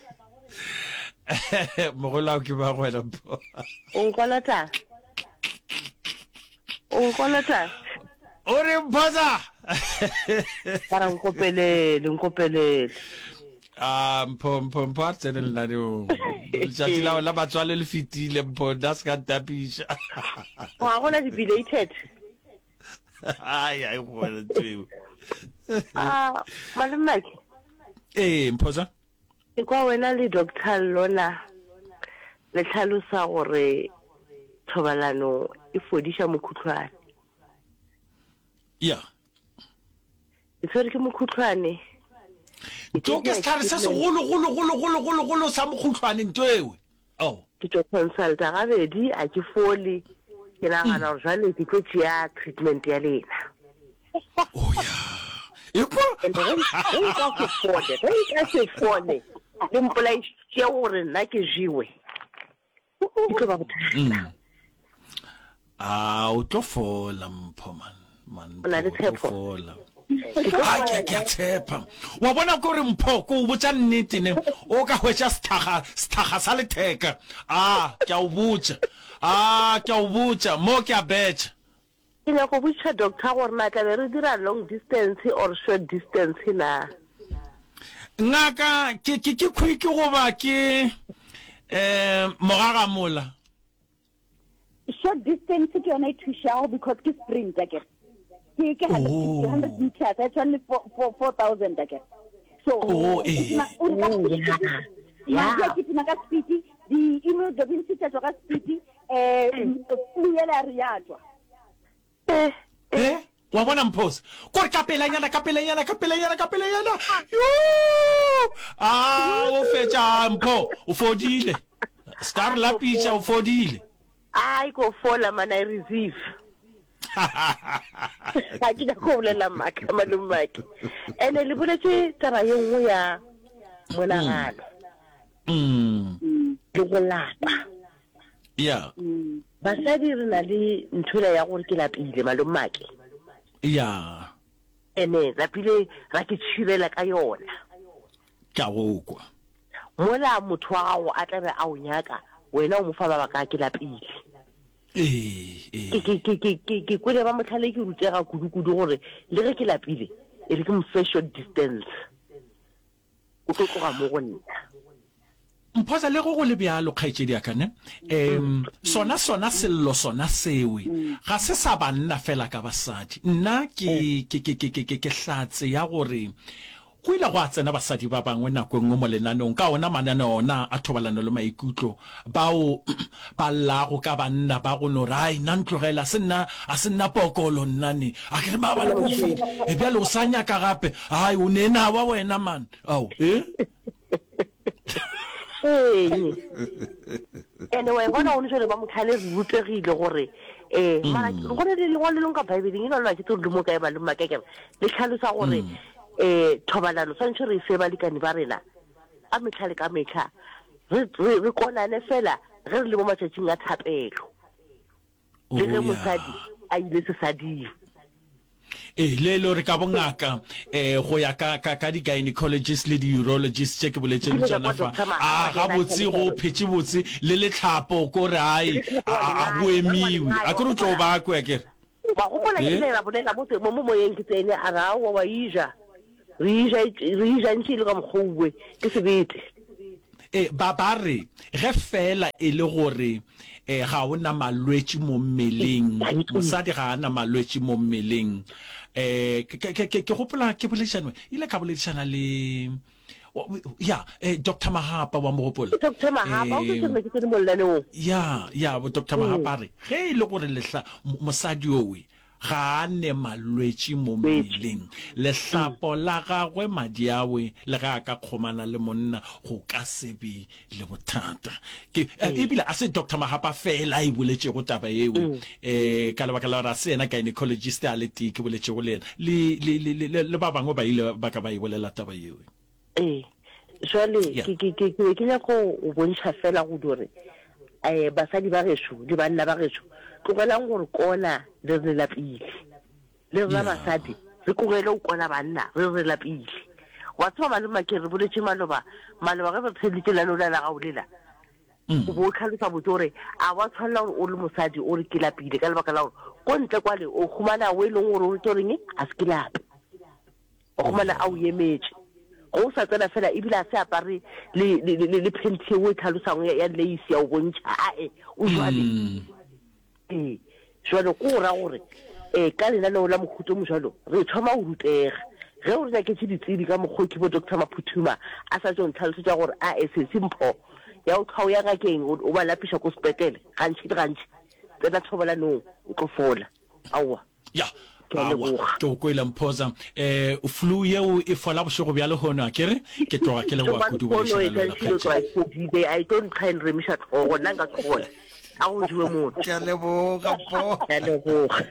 Mogolwaka ke ba go wena Mpho. O nkolota? O nkolota? O re Mphoza. Bara nkopelele, nkopelele. A Mpho, Mpho, Mpho a re tsene lenaneong. Letšatši la la matswalo le fetile, Mpho, nna se ka ntapiša. Ga gona di-belated. Ai, ai, go wena ntho eo. Ah, malome Ee, Mphoza. Ke kwa wena le Doctor Lona le hlalosa gore thobalano e fodiša mokhuhlwane. Ya. Ke tshwere ke mokhuhlwane. Nto ke sehlare se segolo golo golo golo golo golo sa mokhuhlwane nto ewe. Oh. Ke tšo consulta gabedi a ke fole. Ke nagana gore jwale ke tlo tšea treatment ya lena. Oh ya. Ekwa. And ge ge nka se fole, ge nka se fole, le mpolaišitše gore nna ke jewe. E tlo ba bothata. Mm. A o tlo fola mpho man. Man O na le Mpho, o tlo tshepo? fola. A ke ke a tshepa. Wa bona ko re mpho ko o botša nnete ne o ka hwetša sethaga sethaga sa letheka. A ke a o botša. A ke a o botša mo ke a betša. Ke nyaka go botšiša doctor gore na tla be re dira long distance or short distance na? Ngaka, ke ke ke quick goba ke eh mogagamola? Short distance ke yona e thušago because ke sprint akere. Ke ke 150 100 meters a tshwane le 4000 akere. So Oh, eh. o re ka speed, madi a kitima ka speed, di-immunoglobulin tša tšwa ka speed, eh flu yela ya re ya tšwa. Eh, Eh, wa bona Mphosa? Kore ka pelanyana, ka pelanyana, ka pelanyana, ka pelanyana. Yoo! Ah, o fetša Mpho, o fodile. Ska re lapiša, o fodile. Ai ko fola man I receive. Ga ke nyako go bolela maaka malomake. Ene le boletše taba ye nngwe ya monagano. Mm. Le go lapa. Ya. Basadi re na le ntho ela ya gore ke lapile malomake. Ya. Ene lapile ra ke tšhirela ka yona. Ke a go kwa. Mola motho wa gago a tla be a o nyaka, wena o mo fa mabaka a ke lapile. Ee, ee. Ke, ke, ke, ke, ke, ke kwele ba mohlale ke rutega kudu-kudu gore le ge ke lapile, e re ke mo fe short distance. O tlo tloga mo go nna. Mphosa, le ge go le bjalo, kgaetšedi ya ka, ne? Um, sona, sona sello sona sewe, ga se sa banna feela ka basadi. Nna ke, ke, ke, ke, ke, ke, ke hlatse ya gore. Go ile gwa tsena basadi ba bangwe nako e nngwe mo lenaneong, ka ona mananeo ona a thobalano le maikutlo, bao ba llago ka banna ba go no re, Ai, nna ntlogele, a se nna, a se nna pokolo nna ne. A ke re maabane ke o file, e bjale o sa nyaka gape? Ai, o ne nawa wena man. Ao, e? Ee. Ene wa e bona gone jale ba motlhale re rutegile gore um mara go ne le lengwalo le lengwe ka Bibeleng e lona ke tsore le mo kae ba le makekere le tlhalosa gore um thobalano tshwanetse re e fe balekane ba rena ka metlha le ka metlha re re re konane fela ge re le mo matšatšing a thapelo le ge Oh, mosadi ya. a ile sesading. Ee, le e le gore ka bongaka um go ya ka, ka, ka di-gynecologist le di-urologist tše ke boletše le Ke ile ka tšona kwa fa, Doctor a Mahapa yena a gabotse hlalosa go gore phetše botse le letlhapo ko re ai le letlhapo a, wa a, a lengae, go wa emiwe. lengae, A wa ke re o tlo gopola? ba kwe akere? Wa gopola ke Ee? ile ra bolela mo, mo, mo moyeng ke tsene a re aowa wa e ja. Re e ja, re e ja ntše e le ka mokgwa owe, ke sebete. Ee, ba, ba re, ge feela e le gore e, ga o na malwetši mo mmeleng, mosadi ga a na malwetši mo mmeleng. E, ke, ke, ke, ke gopola ke boledišana, ile ka boledišana le, ya, e, Doctor Mahapa, wa mo gopola? Doctor Mahapa, o E, ke ke tsene mo lenaneong. ya, ya, bo Doctor Mahapa a re, ge e le gore lehla, mosadi owe, Ga a ne malwetši mo mmeleng. Lehlapo la gagwe, madi awe, le ge a ka kgomana le monna, go ka se be le bothata. Ke, ebile a se Doctor Mahapa feela a e boletšego taba yeo, eh, ka lebaka la gore a se yena gynecologist a le tee ke boletšego le yena, le, le, le, le, le ba bangwe ba ile ba ka ba e bolela taba yeo. Ee, jwale Yeah. ke, ke, ke, ke be ke nyaka go go bontšha fela go dire um basadi ba gešo le banna ba gešo, tlogelang gore kona le re lapile. Le rena Yeah. basadi re tlogele go kona banna re re lapile. Wa tseba malome ke re boletše maloba, maloba ge re theeditše lenaneo la la gago lela, o bo o tlhalosa botse gore a wa tshwanela gore o le mosadi o re ke lapile ka lebaka la gore ko ntle kwale o humana o e leng gore o re tlo reng a se ke lape. O humana a o emetše. Ge o sa tsena fela ebile a se apare le, le, le, le phenti yeo e tlhalosang ya, ya lace ya o bontšha. Ae, o jwale. Ee. Jwale ko go ra gore um ka lenaneo la mohuta o mojwalo re thoma go rutega. Ge o re nyaketše ditsebi ka mokgwa o ke bo Doctor Maphuthuma a sa tšo ntlhalosetša gore ae sesi mpho ya go hlwa o ya ngakeng o, o ba lapiša ko sepetlele gantši le gantši, tsena thobalanong o tlo fola. Aowa. Ya, Ke a aowa, leboga. ke go kwele Mphoza. Eh, flu yeo e fola bošego bja lehono, a ke re? Ke tloga ke leboga Tšomane kudu pono boledišana e le wena, tla tšhilo tloga kgaetšedi. e fodile, a e tlo ntlha e nremiša hlogo, nna nka se kgone. A go jewe motho. Ke a leboga, Mpho. Ke a leboga.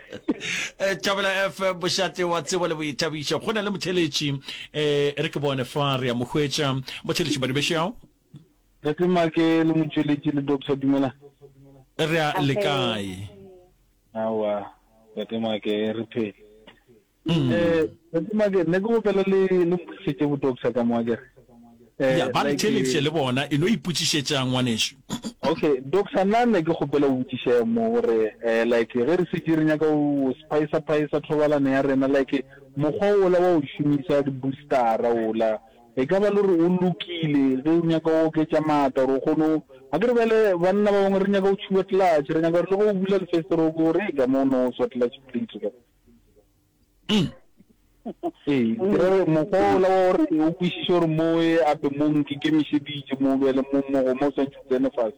Eh, Thobela FM, mošate wa tsebo le boithabišo. Go na le motheletši, eh, re ke bone fa re a mo hwetša. Motheletši Madubešao. Tate Make le motšweletši le Doctor dumelang. Re a le kae? Aowa, Tate Make re phele. Eh, Tate Make nne ke gopela le le mpotšišetše bo doctor ka mo akere. Eh, ya ba re theeleditše le bona, e no ipotšišetša ngwanešu. Okay, doctor nna ne ke kgopela o botšiše mo gore eh like ge re šetše re nyaka go spicer spicer thobalano ya rena like mokgwa ola wa go šomisa di-boostera ola E ka ba le gore o lokile ge o nyaka go oketša maatla gore o kgone go, a ke re bjale banna ba bangwe re nyaka go tšhuba clutch, re nyaka gore le ge o bula lefestere o kwe gore e ka mo o no swa clutch plate ka. Ee, ke ra gore mokgwa ola wa gore o kwešiše gore mo e ape mo nkikemišeditše mo bjale mo mo go mo o swantše o tsene fase.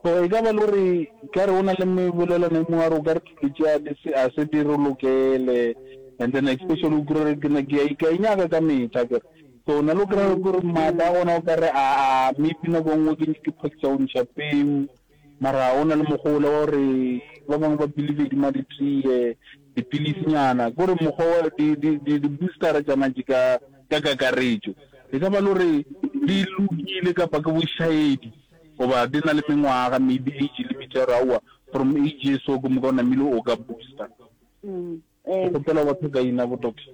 So e ka ba le gore ka re o na le mebolelwana e mongwe a re o ka re dilo tše a di se a se di re lokele and then especially o kry-e ke na ke a e nyaka ka metlha akere. So na le o kry-a gore maatla a gona o ka re a a maybe nako e nngwe ke ke phakisa go ntšha peu mara o na le mokgwa ola wa gore ba bangwe ba believe di ma ditee dipilisinyana ke gore mokgwa wa di di di di-boostera tšana tše ka ka kakaretšo e ka ba le gore di lokile kapa ke bošaedi. Goba di na le mengwaga, maybe age limit ya gore aowa from age ye so ke moka o namile o ka booster. Ke kgopela go ba thokaina bo doctor.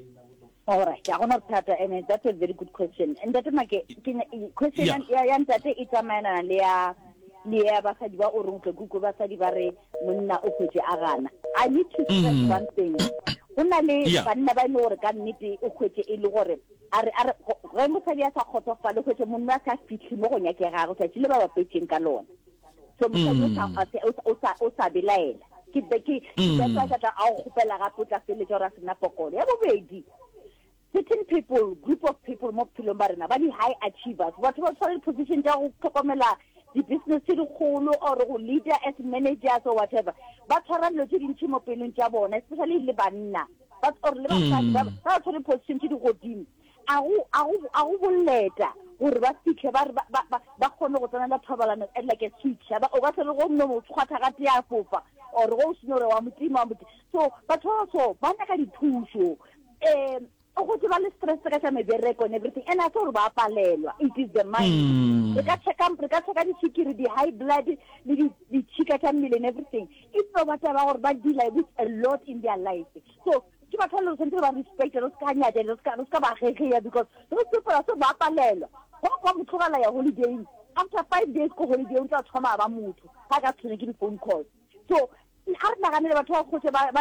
Alright, ga gona bothata and that's a very good question. Ntate Make, ke question Yeah. ya ya ntate e tsamaelana le ya le ya basadi ba o reng tle kuku basadi ba re monna o hwetše a gana. I need to stress one thing. Go na le Yeah. banna ba e le gore ka nnete o hwetše e le gore A re, a re, Ge mosadi a sa kgotsofale, hwetše monna a sa fihle mo go nyakegago tšatši le ba bapetšeng ka lona. So mosadi o sa, a se, o sa, o sa, o sa belaela. Ke, ke, that's why ka tla a go kgopela gape o tla feleletša gore a se na pokolo. Ya bobedi, Certain people, group of people mo bophelong ba rena ba di high achievers, batho ba tshwara di-position tša go hlokomela di-business tše dikgolo or go leader as managers or whatever, ba tshwara dilo tše dintši mo pelong tša bona, especially le banna ba or le basadi ba mm. ba tshwere position tše di godimo. A go a go a go boleta gore ba fitlhe ba re ba ba ba kgone go tsenela thobalano at like a switch. Ba o ka se re go nno mo tshwatha ga tee a fofa or go o seno re wa motima wa motima. So batho ba so ba nyaka dithuso. Um o go ba le stress ka tša mebereko and everything and a se gore ba palelwa it is the mind mm. re ka checka re ka checka diswikiri di high blood le di ditšhika tša mmele and everything e tlo ba taba gore ba deal with a lot in their life so ke batho ba le tshwanetse ba respect re se ka nyatša re se ka re se ka ba gegeya because those people are so ba palelwa go kwa mo tlogela ya holidayng after five days ko holiday o tla thoma ba motho ga ka tshwene ke di-phone calls So a re naganele batho ba kgotse ba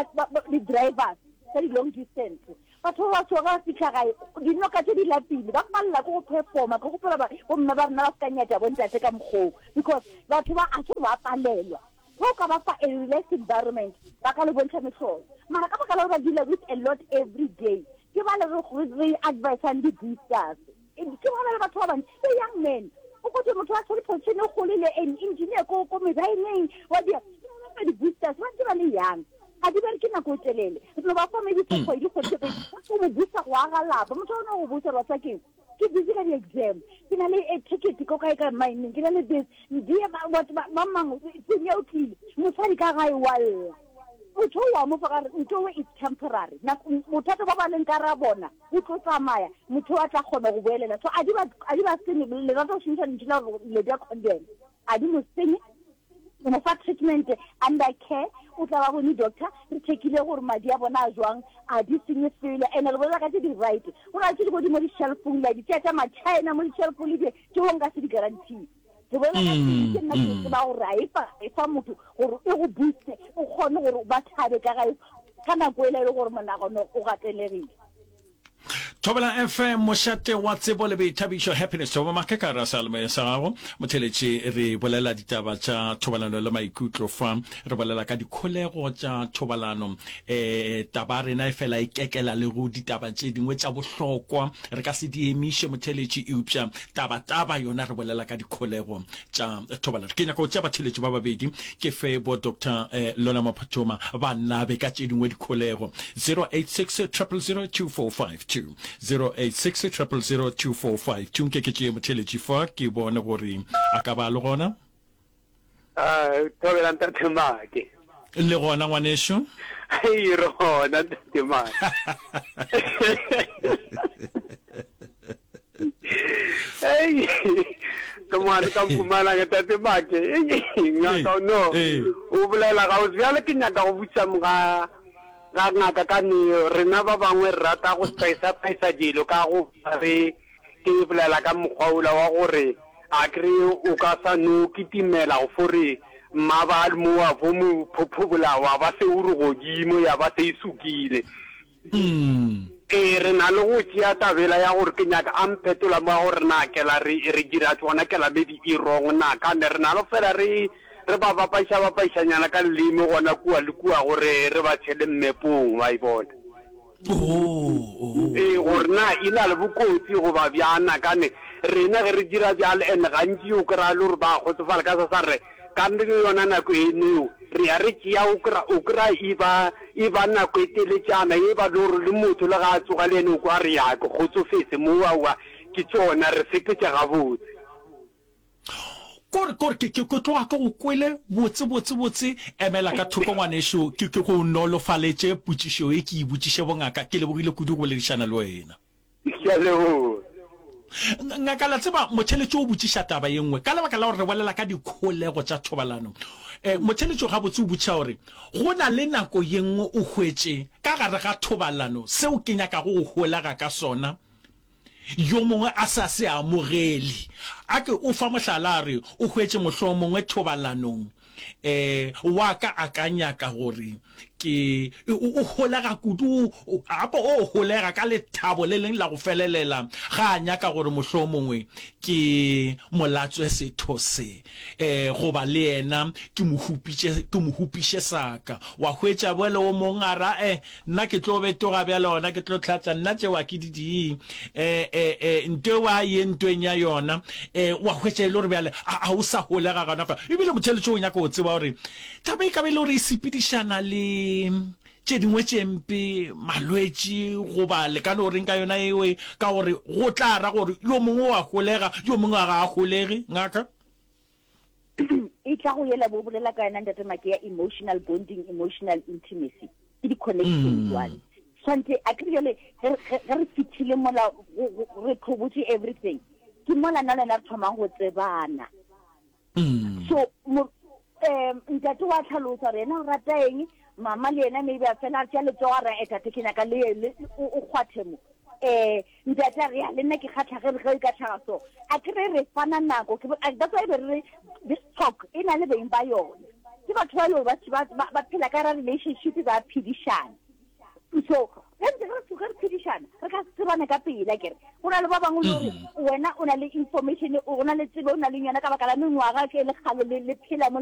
di-drivers tsa di-long distance batho ba baso ga ba fitlha gae dinoka tse di lapile ba palela ke go performa ke gopola bomme ba rena ba se ka nyatša bontate ka mokgoo because batho ba a se ba palelwa ge o ka ba fa a relaxed environment ba ka le bontšha mehlolo mara ka baka la gore ba dealer with a lot every day ke ba le re advisang di-boosters Ke bona le batho ba bantši, the young men. O kgotse motho wa tshwere position e kgolo le an engineer ko ko mebaeneng wa dia ba di-boosters ba ntse ba le young ga di bereke nako e telele re no ba fa maybe for kgwedi kgwedi tse pedi o mo booster go aga lapa motho o ne go booster wa tswa keng ke busy ka di-exam ke na le a ticket ko kae ka mining ke na le this die batho ba mang senya o tlile mosadi ka gae wa lla motho o wa mo fa gare nto is temporary bothata ba ba leng ka ra bona O tlo tsamaya, motho a tla kgona go boelela. So a di ba, a di ba senye, le rata go šomiša lentšu la gore le bja condom. A di mo senye, o mo fa treatment under care, o tla ba bone doctor, re checkile gore madi a bona a jwang, a di senye felo. And re bolela ka tse di right. Go na le tse di godimo di-shelfong, la di tšea tša ma-China mo di-shelfong le di, tšeo nka se di guarantee. Ke bolela ka tse ke nna ke tseba gore a e fa e fa motho gore e go booste o kgone gore ba thabe ka gae ka nako e le gore monagano o gatelegile. Thobela FM mošate wa tsebo le boithabišo happiness Thobo Make ka ra seyalemoya sa gago motheletši re bolela ditaba tša thobalano le maikutlo fa re bolela ka dikholego tša thobalano eh taba rena e fela e kekela le go ditaba tše dingwe tša bohlokwa re ka se di emiše motheletši eupša Taba-taba yona re bolela ka dikholego tša thobalano. Ke nyaka go tšea batheeletši ba babedi ke fe bo Doctor Lona Maphathoma ba nabe ka tše dingwe dikholego. 086 000 2452, 086 000 2452. Nke ke tšee motheeletši fa ke bone gore a ka ba a le gona. Ah, thobela ntate Make. Le gona ngwanešu? Hei, re gona ntate Make. Hei, ke mwane ka Mpumalanga tate Make. Ngaka no, o bolela ga o bjale ke nyaka go botša ga ga ngaka ka neo rena ba bangwe re rata go spice spice dilo ka go re Ke bolela ka mokgwa wola wa gore a kere o ka sa no kitimela go fo re mma ba mo wa fo mo phophobola wa ba se o re godimo ya ba se e sukile. Ee, re na le go tšea tabela ya gore ke nyaka a mphetola mo ya gore na kela re re dira tšona kela maybe e wrong na kane re na le go fela re re ba bapaiša bapaišanyana ka leleme gona kua le kua gore re ba tšhele mmepong wa e bona. Oh, oh. Ee, gore na e na le bokotsi goba bjang, na kane rena ge re dira bjalo, and gantši o kry-a le gore ba kgotsofala ka sa sa re ka yona nako eneo re ya re tšea, o kry-a o kry-a e ba e ba nako e teletšana, e ba le gore le motho le ga a tsoga le ene o kwa re ya ke kgotsofetse mo, aowa ke tšona re sepetše gabotse. Kore, kore, ke, ke, ke tloga ke go kwele botse, botse, botse. Emela ka thoko, ngwanešu, ke, ke go nolofaletše potšišo ye ke e botšiše bongaka. Ke lebogile kudu go boledišana le wena. Ke a leboga. Ngaka, la tseba, motheeletši o botšiša taba ye nngwe, ka lebaka la gore re bolela ka dikholego tša thobalano. Eh, motheeletši gabotse o botšiša gore, Go na le nako ye nngwe o hwetše, ka gare ga thobalano, seo ke nyakago go holega ka sona, yo mongwe a sa se amogele. A ke o fa mohlala a re o hwetše mohlomongwe thobalanong um wa ka a ka nyaka gore Ke, o, o holega kudu, o, gape o holega ka lethabo le leng la go felelela ga a nyaka gore mohlomongwe ke mo latswe setho se, eh, goba le yena ke mo hupitše, ke mo hupiše sa ka. Wa hwetša bjale o mong a ra, eh, nna ke tlo betoga bjale gona ke tlo hlatša, nna tšeo a ke di die, eh, eh, eh, nto eo a ye ntweng ya yona, eh, wa hwetša e le gore bjale a, a o sa holega gona fa. Ebile motheeletši o nyaka go tseba gore Taba e ka ba e le gore e sepedišana le tše dingwe tše mpe, malwetši goba le ka no reng ka yona eo, ka gore go tla ra gore yo mongwe o a holega, yo mongwe ga a holege, ngaka? E tla go yela bo bolela ka yona Ntate Make ya emotional bonding, emotional intimacy. Ke di-connection jwale. Swantse a ke re jwale ge re fithile mola re tlhobotše everything, ke mola nna le wena re thomang go tsebana. So mo um ntate wa tlhalosa gore yena o rata eng, mama le yena maybe a fela a tšea letsogo a re eh tate ke nyaka le le o kgwathe mo. Eh ntate a re ya le nna ke kgatlha ge ge e ka tlhaga so. A ke re re fana nako ke that's why be re re this talk e na le beng ba yona. Ke batho ba le ba ba phela ka ra relationship ba phedišana. So ge ntse re ge re phedišana re ka se tsebane ka pela kere go na le ba bangwe le gore mm. wena o na le information o na le tsebe o na le yona ka baka la mengwaga ke le kgale le phela mo.